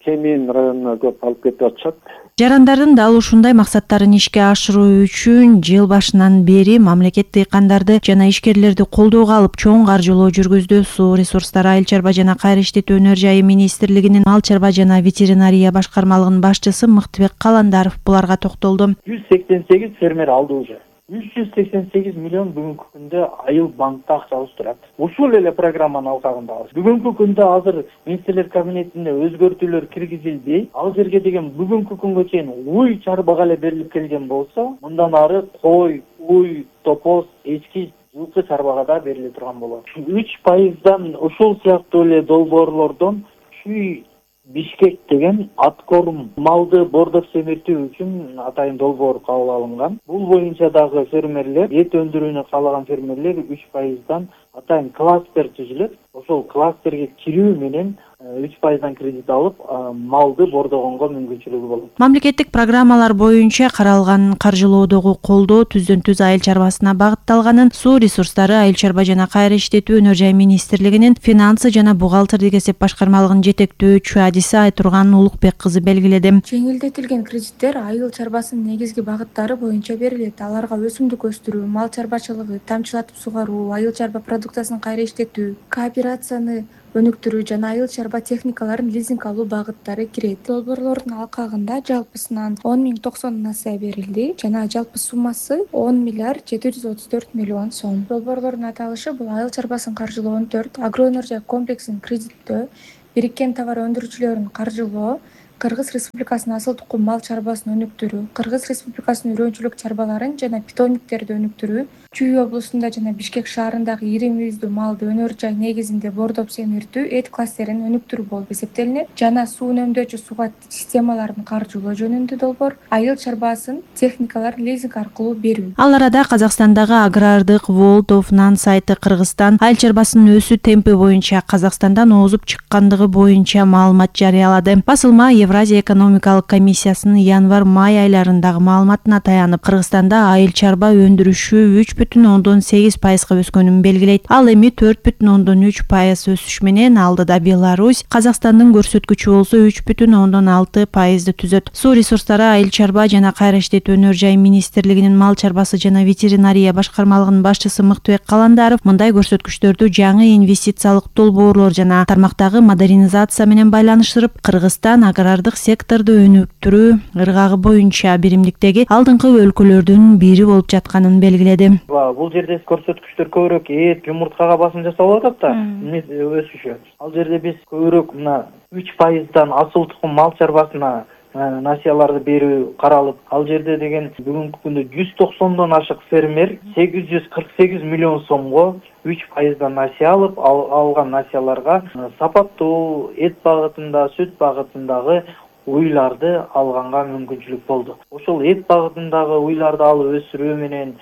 Кемин районуна көп алып кетип атышат. Жарандардын дал ушундай максаттарын ишке ашыруу үчүн жыл башынан бери мамлекет дыйкандарды жана ишкерлерди колдоого алып чоң каржылоо жүргүздү. Суу ресурстары, айыл чарба жана кайра иштетүү өнөр жайы министрлигинин мал чарба жана ветеринария башкармалыгынын башчысы Мыктыбек Каландаров буларга токтолду. 188 фермер алды уже. 388 миллион бүгүнкү күндө айыл банкта акчабыз турат. Ушул эле программанын алкагындабыз. Бүгүнкү күндө азыр министрлер кабинетинде өзгөртүүлөр киргизилди. Ал жерге деген бүгүнкү күнгө чейин уй чарбага эле берилип келген болсо, мындан ары кой, уй, топоз, эчки, жылкы чарбага да бериле турган болот. 3%дан ушул сыяктуу эле долбоорлордон Чүй Бишкек деген аткорум малды бордоп семиртүү үчүн атайын долбоор кабыл алынган. Бул боюнча дагы фермерлер, эт өндүрүүнү каалаган фермерлер 3%дан атайын кластер түзүлөт. Ошол кластерге кирүү менен 3%дан кредит алып, малды бордогонго мүмкүнчүлүгү болот. Мамлекеттик программалар боюнча каралган каржылоодогу колдоо түздөн-түз айыл чарбасына багытталганын Суу ресурстары, айыл чарба жана кайра иштетүү өнөр жай министрлигинин финансы жана бухгалтердик эсеп башкармалыгынын жетектөөчү адиси Айтурган Улукбек кызы белгиледи. Жеңилдетилген кредиттер айыл чарбасынын негизги багыттары боюнча берилет. Аларга өсүмдүк өстүрүү, мал чарбачылыгы, тамчылатып сугаруу, айыл чарба продукциясын кайра иштетүү, кооперацияны өнүктүрүү жана айыл чарба техникаларын лизинг алуу багыттары кирет. Долбоорлордун алкагында жалпысынан 10.090 насыя берилди жана жалпы суммасы 10 миллиард 734 миллион сом. Долбоорлордун аталышы бул айыл чарбасын каржылоонун 4, агроөнөр жай комплексин кредиттөө, бириккен товар өндүрүүчүлөрүн каржылоо, Кыргыз Республикасынын асыл тукум мал чарбасын өнүктүрүү, Кыргыз Республикасынын үрөөнчүлүк чарбаларын жана питомниктерди өнүктүрүү, Чүй облусунда жана Бишкек шаарындагы ири мүйүздүү малды өнөр жай негизинде бордоп семиртүү, эт кластерин өнүктүрүү болуп эсептелинет жана суу үнөмдөөчү суга системаларын каржылоо жөнүндө долбоор айыл чарбасын техникаларын лизинг аркылуу берүү. Ал арада Казакстандагы агрардык World of None сайты Кыргызстан айыл чарбасынын өсүү темпи боюнча Казакстандан озуп чыккандыгы боюнча маалымат жарыялады. Басылма Евразия экономикалык комиссиясынын январь-май айларындагы маалыматына таянып, Кыргызстанда айыл чарба өндүрүшү 3,8%га өскөнүн белгилейт. Ал эми 4,3% өсүш менен алдыда Беларусь, Казакстандын көрсөткүчү болсо 3,6%ды түзөт. Суу ресурстары, айыл чарба жана кайра иштетүү өнөр жай министрлигинин мал чарбасы жана ветеринария башкармалыгынын башчысы Мыктыбек Каландаров мындай көрсөткүчтөрдү жаңы инвестициялык долбоорлор жана тармактагы модернизация менен байланыштырып, Кыргызстан агрардык секторду өнүктүрүү ыргагы боюнча биримдиктеги алдыңкы өлкөлөрдүн бири болуп жатканын белгиледи. Бул жерде көрсөткүчтөр көбүрөөк эт, жумурткага басым жасалып атат да, өсүшү. Ал жерде биз көбүрөөк мына 3%дан асыл тукум мал чарбасына насыяларды берүү каралып, ал жерде деген бүгүнкү күндө 190дон ашык фермер 848 миллион сомго 3%дан насыя алып, алган насыяларга сапаттуу эт багытында, сүт багытындагы уйларды алганга мүмкүнчүлүк болду. Ошол эт багытындагы уйларды алып өсүрүү менен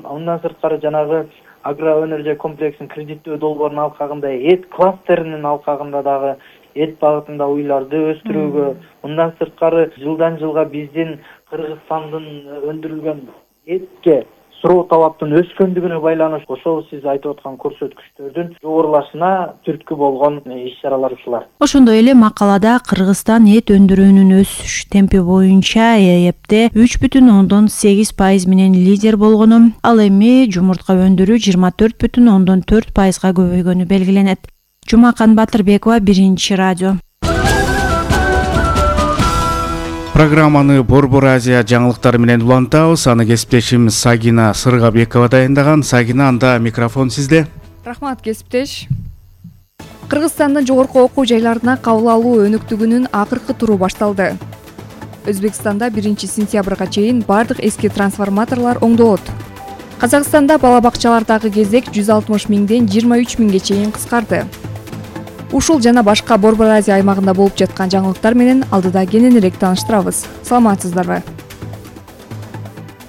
андан сырткары жанагы агроөнөр жай комплексин кредиттөө долбоорунун алкагында эт кластеринин алкагында дагы эт багытында уйларды өстүрүүгө, мындан сырткары жылдан жылга биздин Кыргызстандын өндүрүлгөн этке суроо талаптын өскөндүгүнө байланыштуу ошол сиз айтып аткан көрсөткүчтөрдүн жогорулашына түрткү болгон иш-чаралар ушулар. Ошондой эле макалада Кыргызстан эт өндүрүүнүн өсүш темпи боюнча ЭЭПте 3,8% менен лидер болгону, ал эми жумуртка өндүрүү 24,4%га көбөйгөнү белгиленет. Жумакан Батырбекова, Биринчи радио. Программаны Борбор Азия жаңылыктары менен улантабыз. Аны кесиптешим Сагина Сыргабекова дайындаган. Сагина, анда микрофон сизде. Рахмат, кесиптеш. Кыргызстандын жогорку окуу жайларына кабыл алуу өнүктүгүнүн акыркы туру башталды. Өзбекстанда 1-сентябрга чейин бардык эски трансформаторлор оңдолот. Казакстанда бала бакчалардагы кезек 160 миңден 23 миңге чейин кыскарды. Ушул жана башка Борбор Азия аймагында болуп жаткан жаңылыктар менен алдыда кененирээк тааныштырабыз. Саламатсыздарбы?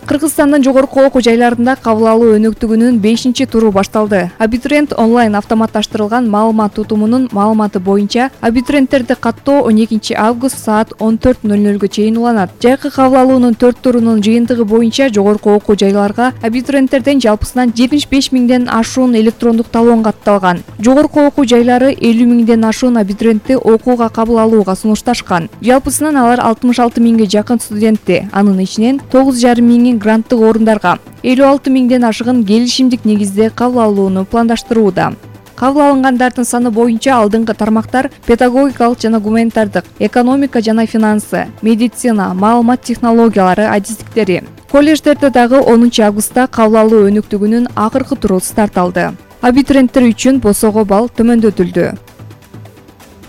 Кыргызстандын жогорку окуу жайларында кабыл алуу өнүктүгүнүн 5-туру башталды. Абитуриент онлайн автоматташтырылган маалымат тутумунун маалыматы боюнча абитуриенттерди каттоо 12 август саат 14:00 чейин уланат. Жайкы кабыл алуунун 4 турунун жыйынтыгы боюнча жогорку окуу жайларга абитуриенттерден жалпысынан 75 миңден ашуун электрондук талон катталган. Жогорку окуу жайлары 50 миңден ашуун абитуриентти окууга кабыл алууга сунушташкан. Жалпысынан алар 66 миңге жакын студентти, анын ичинен 9,5 миңи гранттык орундарга, 56 миңден ашыгын келишимдик негизде кабыл алууну пландаштырууда. Кабыл алынгандардын саны боюнча алдыңкы тармактар педагогикалык жана гуманитардык, экономика жана финансы, медицина, маалымат технологиялары адистиктери, Колледждерде дагы 10 августта кабыл алуу өнүктүгүнүн акыркы туру старт алды. Абитуриенттер үчүн босого балл төмөндөтүлдү.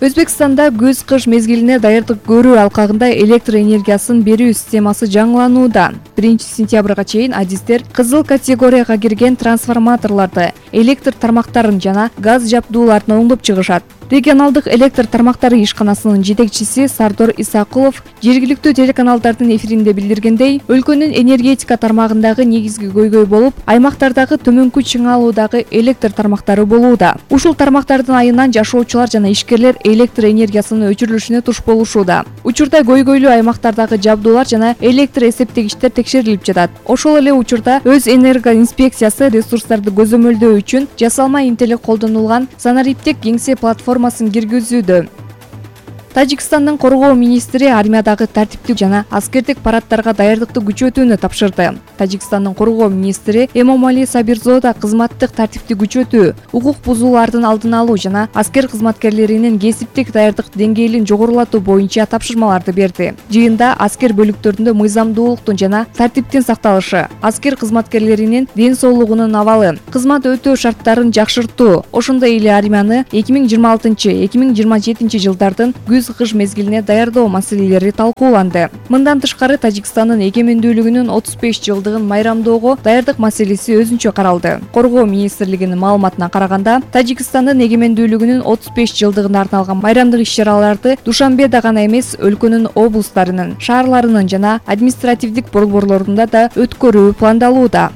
Өзбекстанда көз-кыш мезгилине даярдык көрүү алкагында электр энергиясын берүү системасы жаңыланууда. 1-сентябрга чейин адистер кызыл категорияга кирген трансформаторлорду, электр тармактарын жана газ жабдууларын оңдоп чыгышат. Регионалдык электр тармактары ишканасынын жетекчиси Сардор Исакулов жергиликтүү телеканалдардын эфиринде билдиргендей, өлкөнүн энергетика тармагындагы негизги көйгөй болуп, аймактардагы төмөнкү чыңалуудагы электр тармактары болууда. Ушул тармактардын айынан жашоочулар жана ишкерлер электр энергиясынын өчүрүлүшүнө туш болушууда. Учурда көйгөйлүү аймактардагы жабдуулар жана электр эсептегичтер текшерилип жатат. Ошол эле учурда өз энерго инспекциясы ресурстарды көзөмөлдөө үчүн жасалма интеллект колдонулган санариптик кеңсе платформасын киргизүүдө. Тажикстандын коргоо министри армиядагы тартиптик жана аскердик парадтарга даярдыкты күчөтүүнү тапшырды. Тажикстандын коргоо министри Эмомали Сабирзода кызматтык тартипти күчөтүү, укук бузуулардын алдын алуу жана аскер кызматкерлеринин кесиптик даярдык деңгээлин жогорулатуу боюнча тапшырмаларды берди. Жыйында аскер бөлүктөрүндө мыйзамдуулуктун жана тартиптин сакталышы, аскер кызматкерлеринин ден соолугунун абалы, кызмат өтөө шарттарын жакшыртуу, ошондой эле армияны 2026-2027 жылдардын күз-кыш мезгилине даярдоо маселелери талкууланды. Мындан тышкары Тажикстандын эгемендүүлүгүнүн 35 жылдыгын майрамдоого даярдык маселеси өзүнчө каралды. Коргоо министрлигинин маалыматына караганда, Тажикстандын эгемендүүлүгүнүн 35 жылдыгына арналган майрамдык иш-чараларды Душанбеде гана эмес, өлкөнүн облустарынын, шаарларынын жана административдик борборлорунда да өткөрүү пландалууда.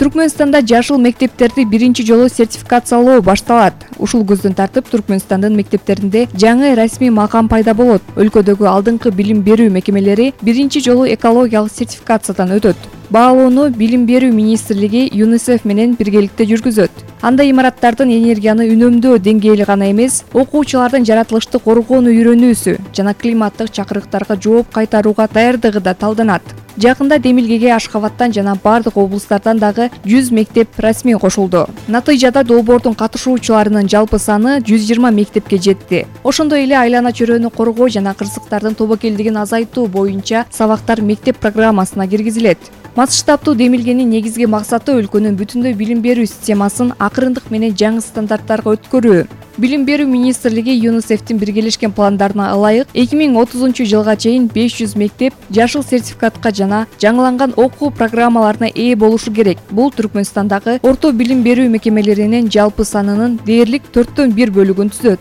Түркмөнстанда жашыл мектептерди биринчи жолу сертификациялоо башталат. Ушул көздөн тартып Түркмөнстандын мектептеринде жаңы расмий макам пайда болот. Өлкөдөгү алдыңкы билим берүү мекемелери биринчи жолу экологиялык сертификациядан өтөт. Баалоону Билим берүү министрлиги ЮНИСЕФ менен биргеликте жүргүзөт. Анда имараттардын энергияны үнөмдөө деңгээли гана эмес, окуучулардын жаратылышты коргоону үйрөнүүсү жана климаттык чакырыктарга жооп кайтарууга даярдыгы да талданат. Жакында Демилгеге Ашхабадтан жана бардык облустардан дагы 100 мектеп расмий кошулду. Натыйжада долбоордун катышуучуларынын жалпы саны 120 мектепке жетти. Ошондой эле айлана чөйрөнү коргоо жана кырсыктардын тобокелдигин азайтуу боюнча сабактар мектеп программасына киргизилет. Масштабтуу Демилгенин негизги максаты өлкөнүн бүтүндөй билим берүү системасын акырындык менен жаңы стандарттарга өткөрүү. Билим берүү министрлиги ЮНИСЕФтин биргелешкен пландарына ылайык 2030 жылга чейин 500 мектеп жашыл сертификатка жана жаңыланган окуу программаларына ээ болушу керек. Бул Түркмөнстандагы орто билим берүү мекемелеринин жалпы санынын дээрлик 4/1 бөлүгүн түзөт.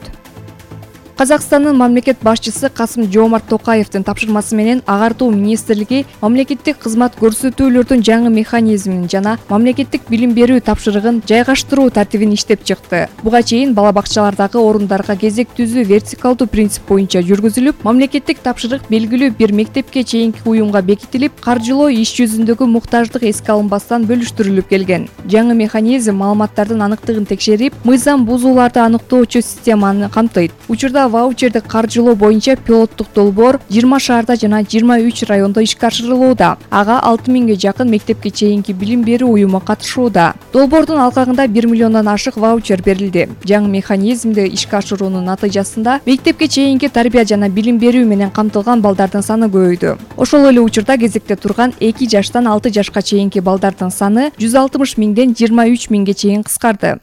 Казакстандын мамлекет башчысы Касым-Жомарт Токаевдин тапшырмасы менен Агартуу министрлиги мамлекеттик кызмат көрсөтүүлөрдүн жаңы механизмин жана мамлекеттик билим берүү тапшырыгын жайгаштыруу тартибин иштеп чыкты. Буга чейин бала бакчалардагы орундарга кезек түзүү вертикалдуу принцип боюнча жүргүзүлүп, мамлекеттик тапшырык белгилүү бир мектепке чейинки уюмга бекитилип, каржылоо иш жүзүндөгү муктаждык эске алынбастан бөлүштүрүлүп келген. Жаңы механизм маалыматтардын аныктыгын текшерип, мыйзам бузууларды аныктоочу системаны камтыйт. Учурда ваучерди каржылоо боюнча пилоттук долбоор 20 шаарда жана 23 райондо ишке ашырылууда. Ага 6000ге жакын мектепке чейинки билим берүү уюму катышууда. Долбоордун алкагында 1 миллиондон ашык ваучер берилди. Жаңы механизмди ишке ашыруунун натыйжасында мектепке чейинки тарбия жана билим берүү менен камтылган балдардын саны көбөйдү. Ошол эле учурда кезекте турган 2 жаштан 6 жашка чейинки балдардын саны 160 миңден 23 миңге чейин кыскарды.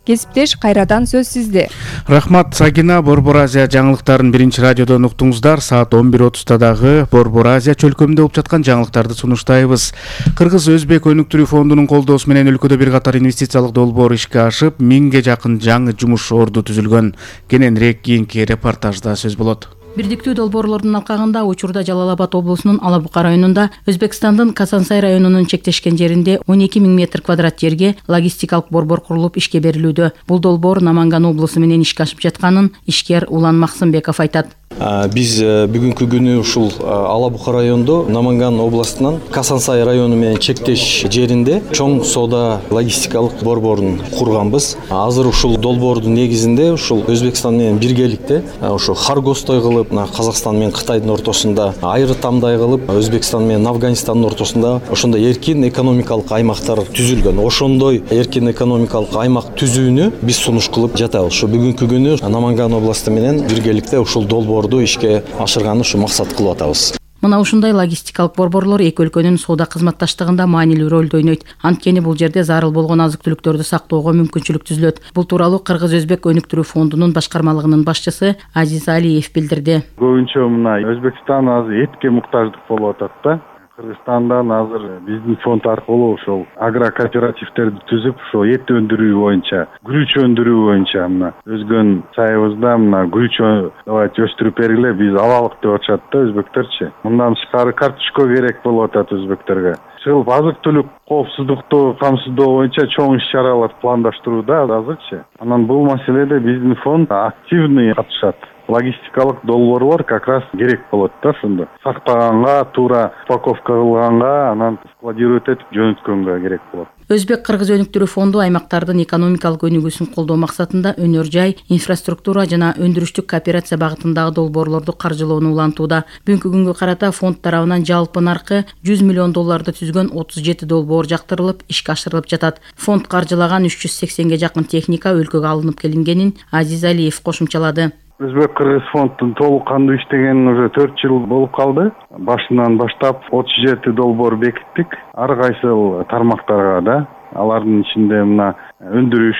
Кесиптеш, кайрадан сөз сизде. Рахмат Сагина. Борбор Азия жаңылыктарын биринчи радиодон уктуңуздар. Саат 11:30 дагы Борбор Азия чөлкөмүндө болуп жаткан жаңылыктарды сунуштайбыз. Кыргыз-Өзбек өнүктүрүү фондунун колдоосу менен өлкөдө бир катар инвестициялык долбоор ишке ашып, 1000ге жакын жаңы жумуш орду түзүлгөн. Кененирээк кийинки репортажда сөз болот. Бирдиктүү долбоорлордун алкагында учурда Жалал Абад облусунун Ала Бука районунда, Өзбекстандын Касансай районунун чектешкен жеринде 12 000 метр квадрат жерге логистикалык борбор курулуп ишке берилүүдө. Бул долбоор Наманган облусу менен ишке ашып жатканын ишкер Улан Максымбеков айтат. Биз бүгүнкү күнү ушул Ала Бука райондо Наманган областынан Касансай району менен чектеш жеринде чоң соода логистикалык борборун курганбыз. Азыр ушул долбоордун негизинде ушул Өзбекстан менен биргеликте ошо Харгостой кылып, Казакстан менен Кытайдын ортосунда айрытамдай кылып, Өзбекстан менен Афганистандын ортосунда ошондой эркин экономикалык аймактар түзүлгөн. Ошондой эркин экономикалык аймак түзүүнү биз сунуш кылып жатабыз. Ошо бүгүнкү күнү Наманган областы менен биргеликте ушул долбоорду ишке ашырганды ушу максат кылып атабыз. Мына ушундай логистикалык борборлор эки өлкөнүн соода кызматташтыгында маанилүү ролду ойнойт. Анткени бул жерде зарыл болгон азык-түлүктөрдү сактоого мүмкүнчүлүк түзүлөт. Бул тууралуу Кыргыз-Өзбек өнүктүрүү фондунун башкармалыгынын башчысы Азиз Алиев билдирди. Көбүнчө мына Өзбекстан азыр этке муктаждык болуп атат да. Кыргызстандан азыр биздин фонд аркылуу ошол агрокооперативтерди түзүп, ошо эт өндүрүү боюнча, күрүч өндүрүү боюнча мына өзгөн сайыбызда мына күрүч давайте өстүрүп бергиле, биз алалык деп атышат да өзбектерчи. Мындан тышкары карточка керек болуп атат өзбектерге. Чыгып азык-түлүк коопсуздукту камсыздоо боюнча чоң иш-чаралар пландаштырууда азырчы. Анан бул маселеде биздин фонд активный катышат. Логистикалык долбоорлор как раз керек болот да ошондо. Сактаганга, туура упаковка кылганга, анан складировать этип жөнөткөнгө керек болот. Өзбек-Кыргыз өнүктүрүү фонду аймактардын экономикалык өнүгүүсүн колдоо максатында өнөр жай, инфраструктура жана өндүрүштүк кооперация багытындагы долбоорлорду каржылоону улантууда. Бүгүнкү күнгө карата фонд тарабынан жалпы наркы $100 миллион түзгөн 37 долбоор жактырылып, ишке ашырылып жатат. Фонд каржылаган 380ге жакын техника өлкөгө алынып келингенин Азиз Алиев кошумчалады. Өзбек-Кыргыз фондун толук кандуу иштегенине уже 4 жыл болуп калды. Башынан баштап 37 долбоор бекиттик. Ар кайсыл тармактарга да. Алардын ичинде мына өндүрүш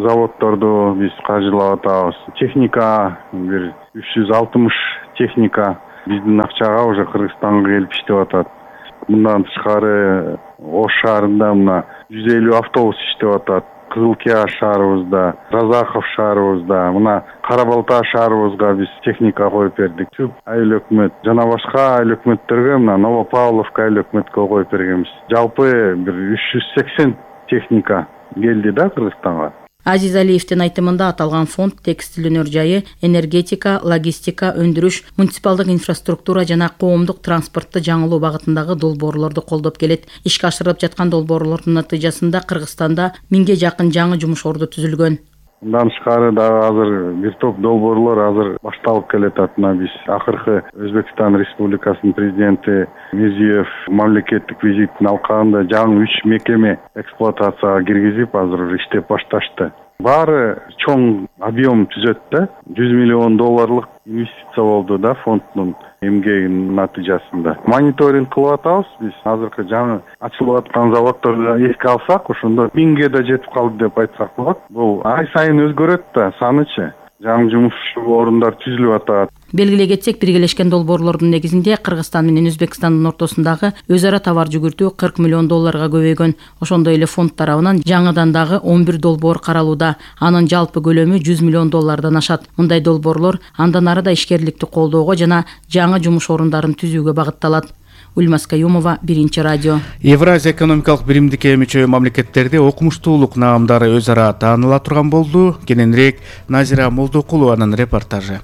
заводдорду биз каржылап атабыз. Техника бир 360 техника биздин акчага уже Кыргызстанга келип иштеп атат. Мындан тышкары Ош шаарында мына 150 автобус иштеп атат. Кызылкия шаарыбызда, Разахов шаарыбызда, мына Кара-Балта шаарыбызга биз техника коюп бердик. Түп айыл өкмөт жана башка айыл өкмөттөргө мына Новопавловка айыл өкмөткө коюп бергенбиз. Жалпы бир 380 техника келди да Кыргызстанга. Азиз Алиевдин айтымында аталган фонд текстил өнөр жайы, энергетика, логистика, өндүрүш, муниципалдык инфраструктура жана коомдук транспортты жаңылоо багытындагы долбоорлорду колдоп келет. Ишке ашырылып жаткан долбоорлордун натыйжасында Кыргызстанда 1000ге жакын жаңы жумуш орду түзүлгөн. Мындан тышкары дагы азыр бир топ долбоорлор азыр башталып келатат. Мына биз акыркы Өзбекстан Республикасынын президенти Мирзиев мамлекеттик визитин алкагында жаңы 3 мекеме эксплуатацияга киргизип азыр иштеп башташты. Баары чоң объем түзөт да. $100 миллион инвестиция болду да фонддун эмгегинин натыйжасында. Мониторинг кылып атабыз биз. Азыркы жаңы ачылып аткан заводдорду эске алсак, ошондо 1000ге да жетип калды деп айтсак болот. Бул ай сайын өзгөрөт да санычы. Жаңы жумуш орундар түзүлүп атат. Белгилей кетсек, биргелешкен долбоорлордун негизинде Кыргызстан менен Өзбекстандын ортосундагы өз ара товар жүгүртүү $40 миллион көбөйгөн. Ошондой эле фонд тарабынан жаңыдан дагы 11 долбоор каралууда. Анын жалпы көлөмү $100 миллион ашат. Мындай долбоорлор андан ары да ишкерликти колдоого жана жаңы жумуш орундарын түзүүгө багытталат. Ульмас Каюмова, Биринчи радио. Евразия экономикалык биримдикке мүчө мамлекеттерде окумуштуулук наамдары өз ара тааныла турган болду. Кененирээк Назира Молдокулованын репортажы.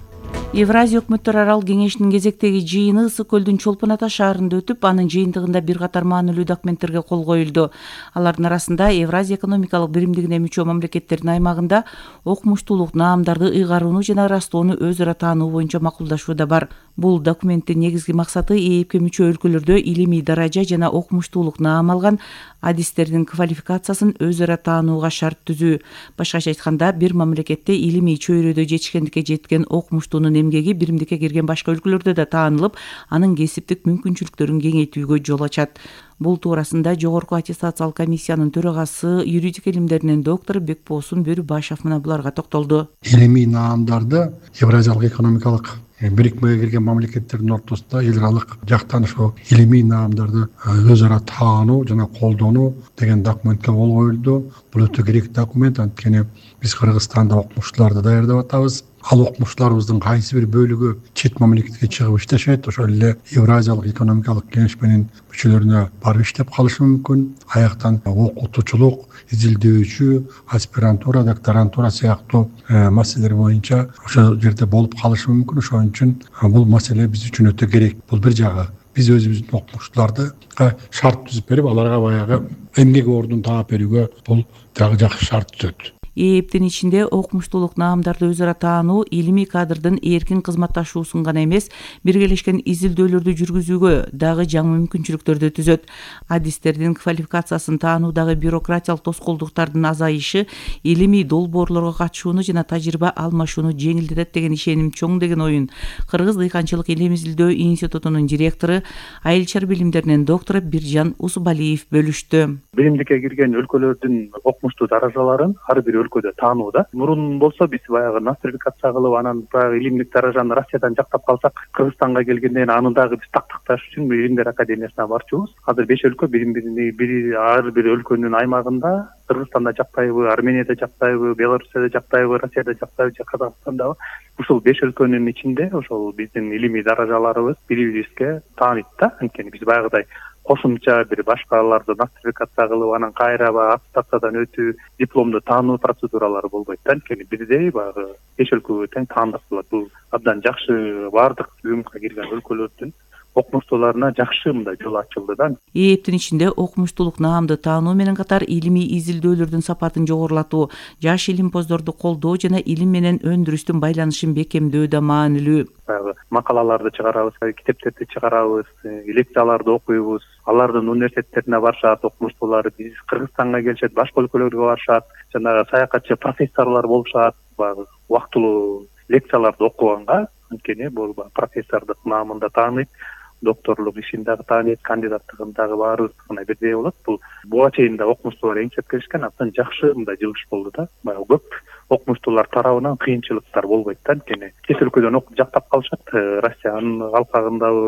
Евразия өкмөттөр арал кеңешинин кезектеги жыйыны Ысык көлдүн Чолпон Ата шаарында өтүп, анын жыйынтыгында бир катар маанилүү документтерге кол коюлду. Алардын арасында Евразия экономикалык биримдигине мүчө мамлекеттердин аймагында окумуштуулук наамдарды ыйгарууну жана ырастоону өз ара таануу боюнча макулдашуу да бар. Бул документтин негизги максаты ЭЭПке мүчө өлкөлөрдө илимий даража жана окумуштуулук наам алган адистердин квалификациясын өз ара таанууга шарт түзүү. Башкача айтканда, бир мамлекетте илимий чөйрөдө жетишкендикке жеткен окумуштуунун эмгеги биримдикке кирген башка өлкөлөрдө да таанылып, анын кесиптик мүмкүнчүлүктөрүн кеңейтүүгө жол ачат. Бул туурасында Жогорку аттестациялык комиссиянын төрагасы, юридика илимдеринин доктору Бекбосун Бөрүбашев мына буларга токтолду. Илимий наамдарды Евразиялык экономикалык бирикмеге кирген мамлекеттердин ортосунда эл аралык жактан ошо илимий наамдарды өз ара таануу жана колдонуу деген документке кол коюлду. Бул өтө керек документ, анткени биз Кыргызстанда окумуштууларды даярдап атабыз. Ал окумуштууларыбыздын кайсы бир бөлүгү чет мамлекетке чыгып иштешет, ошол эле Евразиялык экономикалык кеңеш менен мүчөлөрүнө барып иштеп калышы мүмкүн. Аяктан окутуучулук, изилдөөчү, аспирантура, докторантура сыяктуу маселелер боюнча ошол жерде болуп калышы мүмкүн. Ошон үчүн бул маселе биз үчүн өтө керек. Бул бир жагы. Биз өзүбүздүн окумуштууларды шарт түзүп берип, аларга баягы эмгек ордун таап берүүгө бул дагы жакшы шарт түзөт. ээптин ичинде окумуштуулук наамдарды өзара таануу илимий кадрдын эркин кызматташуусун гана эмес, биргелешкен изилдөөлөрдү жүргүзүүгө дагы жаңы мүмкүнчүлүктөрдү түзөт. Адистердин квалификациясын таануудагы бюрократиялык тоскоолдуктардын азайышы илимий долбоорлорго катышууну жана тажрыйба алмашууну жеңилдетет деген ишеним чоң деген оюн Кыргыз дыйканчылык илим изилдөө институтунун директору, айыл чар билимдеринин доктору Биржан Усубалиев бөлүштү. Билимдикке кирген өлкөлөрдүн окумуштуу даражаларын ар бир өлкөдө таанууда. Мурун болсо биз баягы нострификация кылып, анан баягы илимдик даражаны Россиядан жактап калсак, Кыргызстанга келгенде анын дагы биз такташ үчүн Илимдер академиясына барчубуз. Азыр 5 өлкө ар бир өлкөнүн аймагында, Кыргызстанда жактайбы, Арменияда жактайбы, Белоруссияда жактайбы, Россияда жактайбы, Казакстандабы. Ушул 5 өлкөнүн ичинде ошол биздин илимий даражаларыбыз бирибизге тааныйт да. Анткени биз баягыдай кошумча бир башкаларды нострификация кылып, анан кайра аттестациядан өтүү, дипломду таануу процедуралары болбойт да. Анткени бирдей баягы 5 өлкөгө тең таандырылат. Бул абдан жакшы, баардык УМКка кирген өлкөлөрдүн окумуштууларына жакшы мындай жол ачылды да. ээптин ичинде окумуштуулук наамды таануу менен катар илимий изилдөөлөрдүн сапатын жогорулатуу, жаш илимпоздорду колдоо жана илим менен өндүрүстүн байланышын бекемдөө да маанилүү. Макалаларды чыгарабыз, китептерди чыгарабыз, лекцияларды окуйбуз. Алардын университеттерине барышат, окумуштуулар биз Кыргызстанга келишет, башка өлкөлөргө барышат, жанагы саякатчы профессорлор болушат, убактылуу лекцияларды окуганга, анткени бул профессордук наамында тааныйт, докторлук ишин дагы тааныйт, кандидаттыгын дагы баарыбызына бирдей болот. Буга чейин да окумуштуулар эңчеп келишкен, абдан жакшы мындай жылыш болду да. Көп окумуштуулар тарабынан кыйынчылыктар болбойт да. Анткени чет өлкөдөн окуп жактап калышат, Россиянын алкагындагы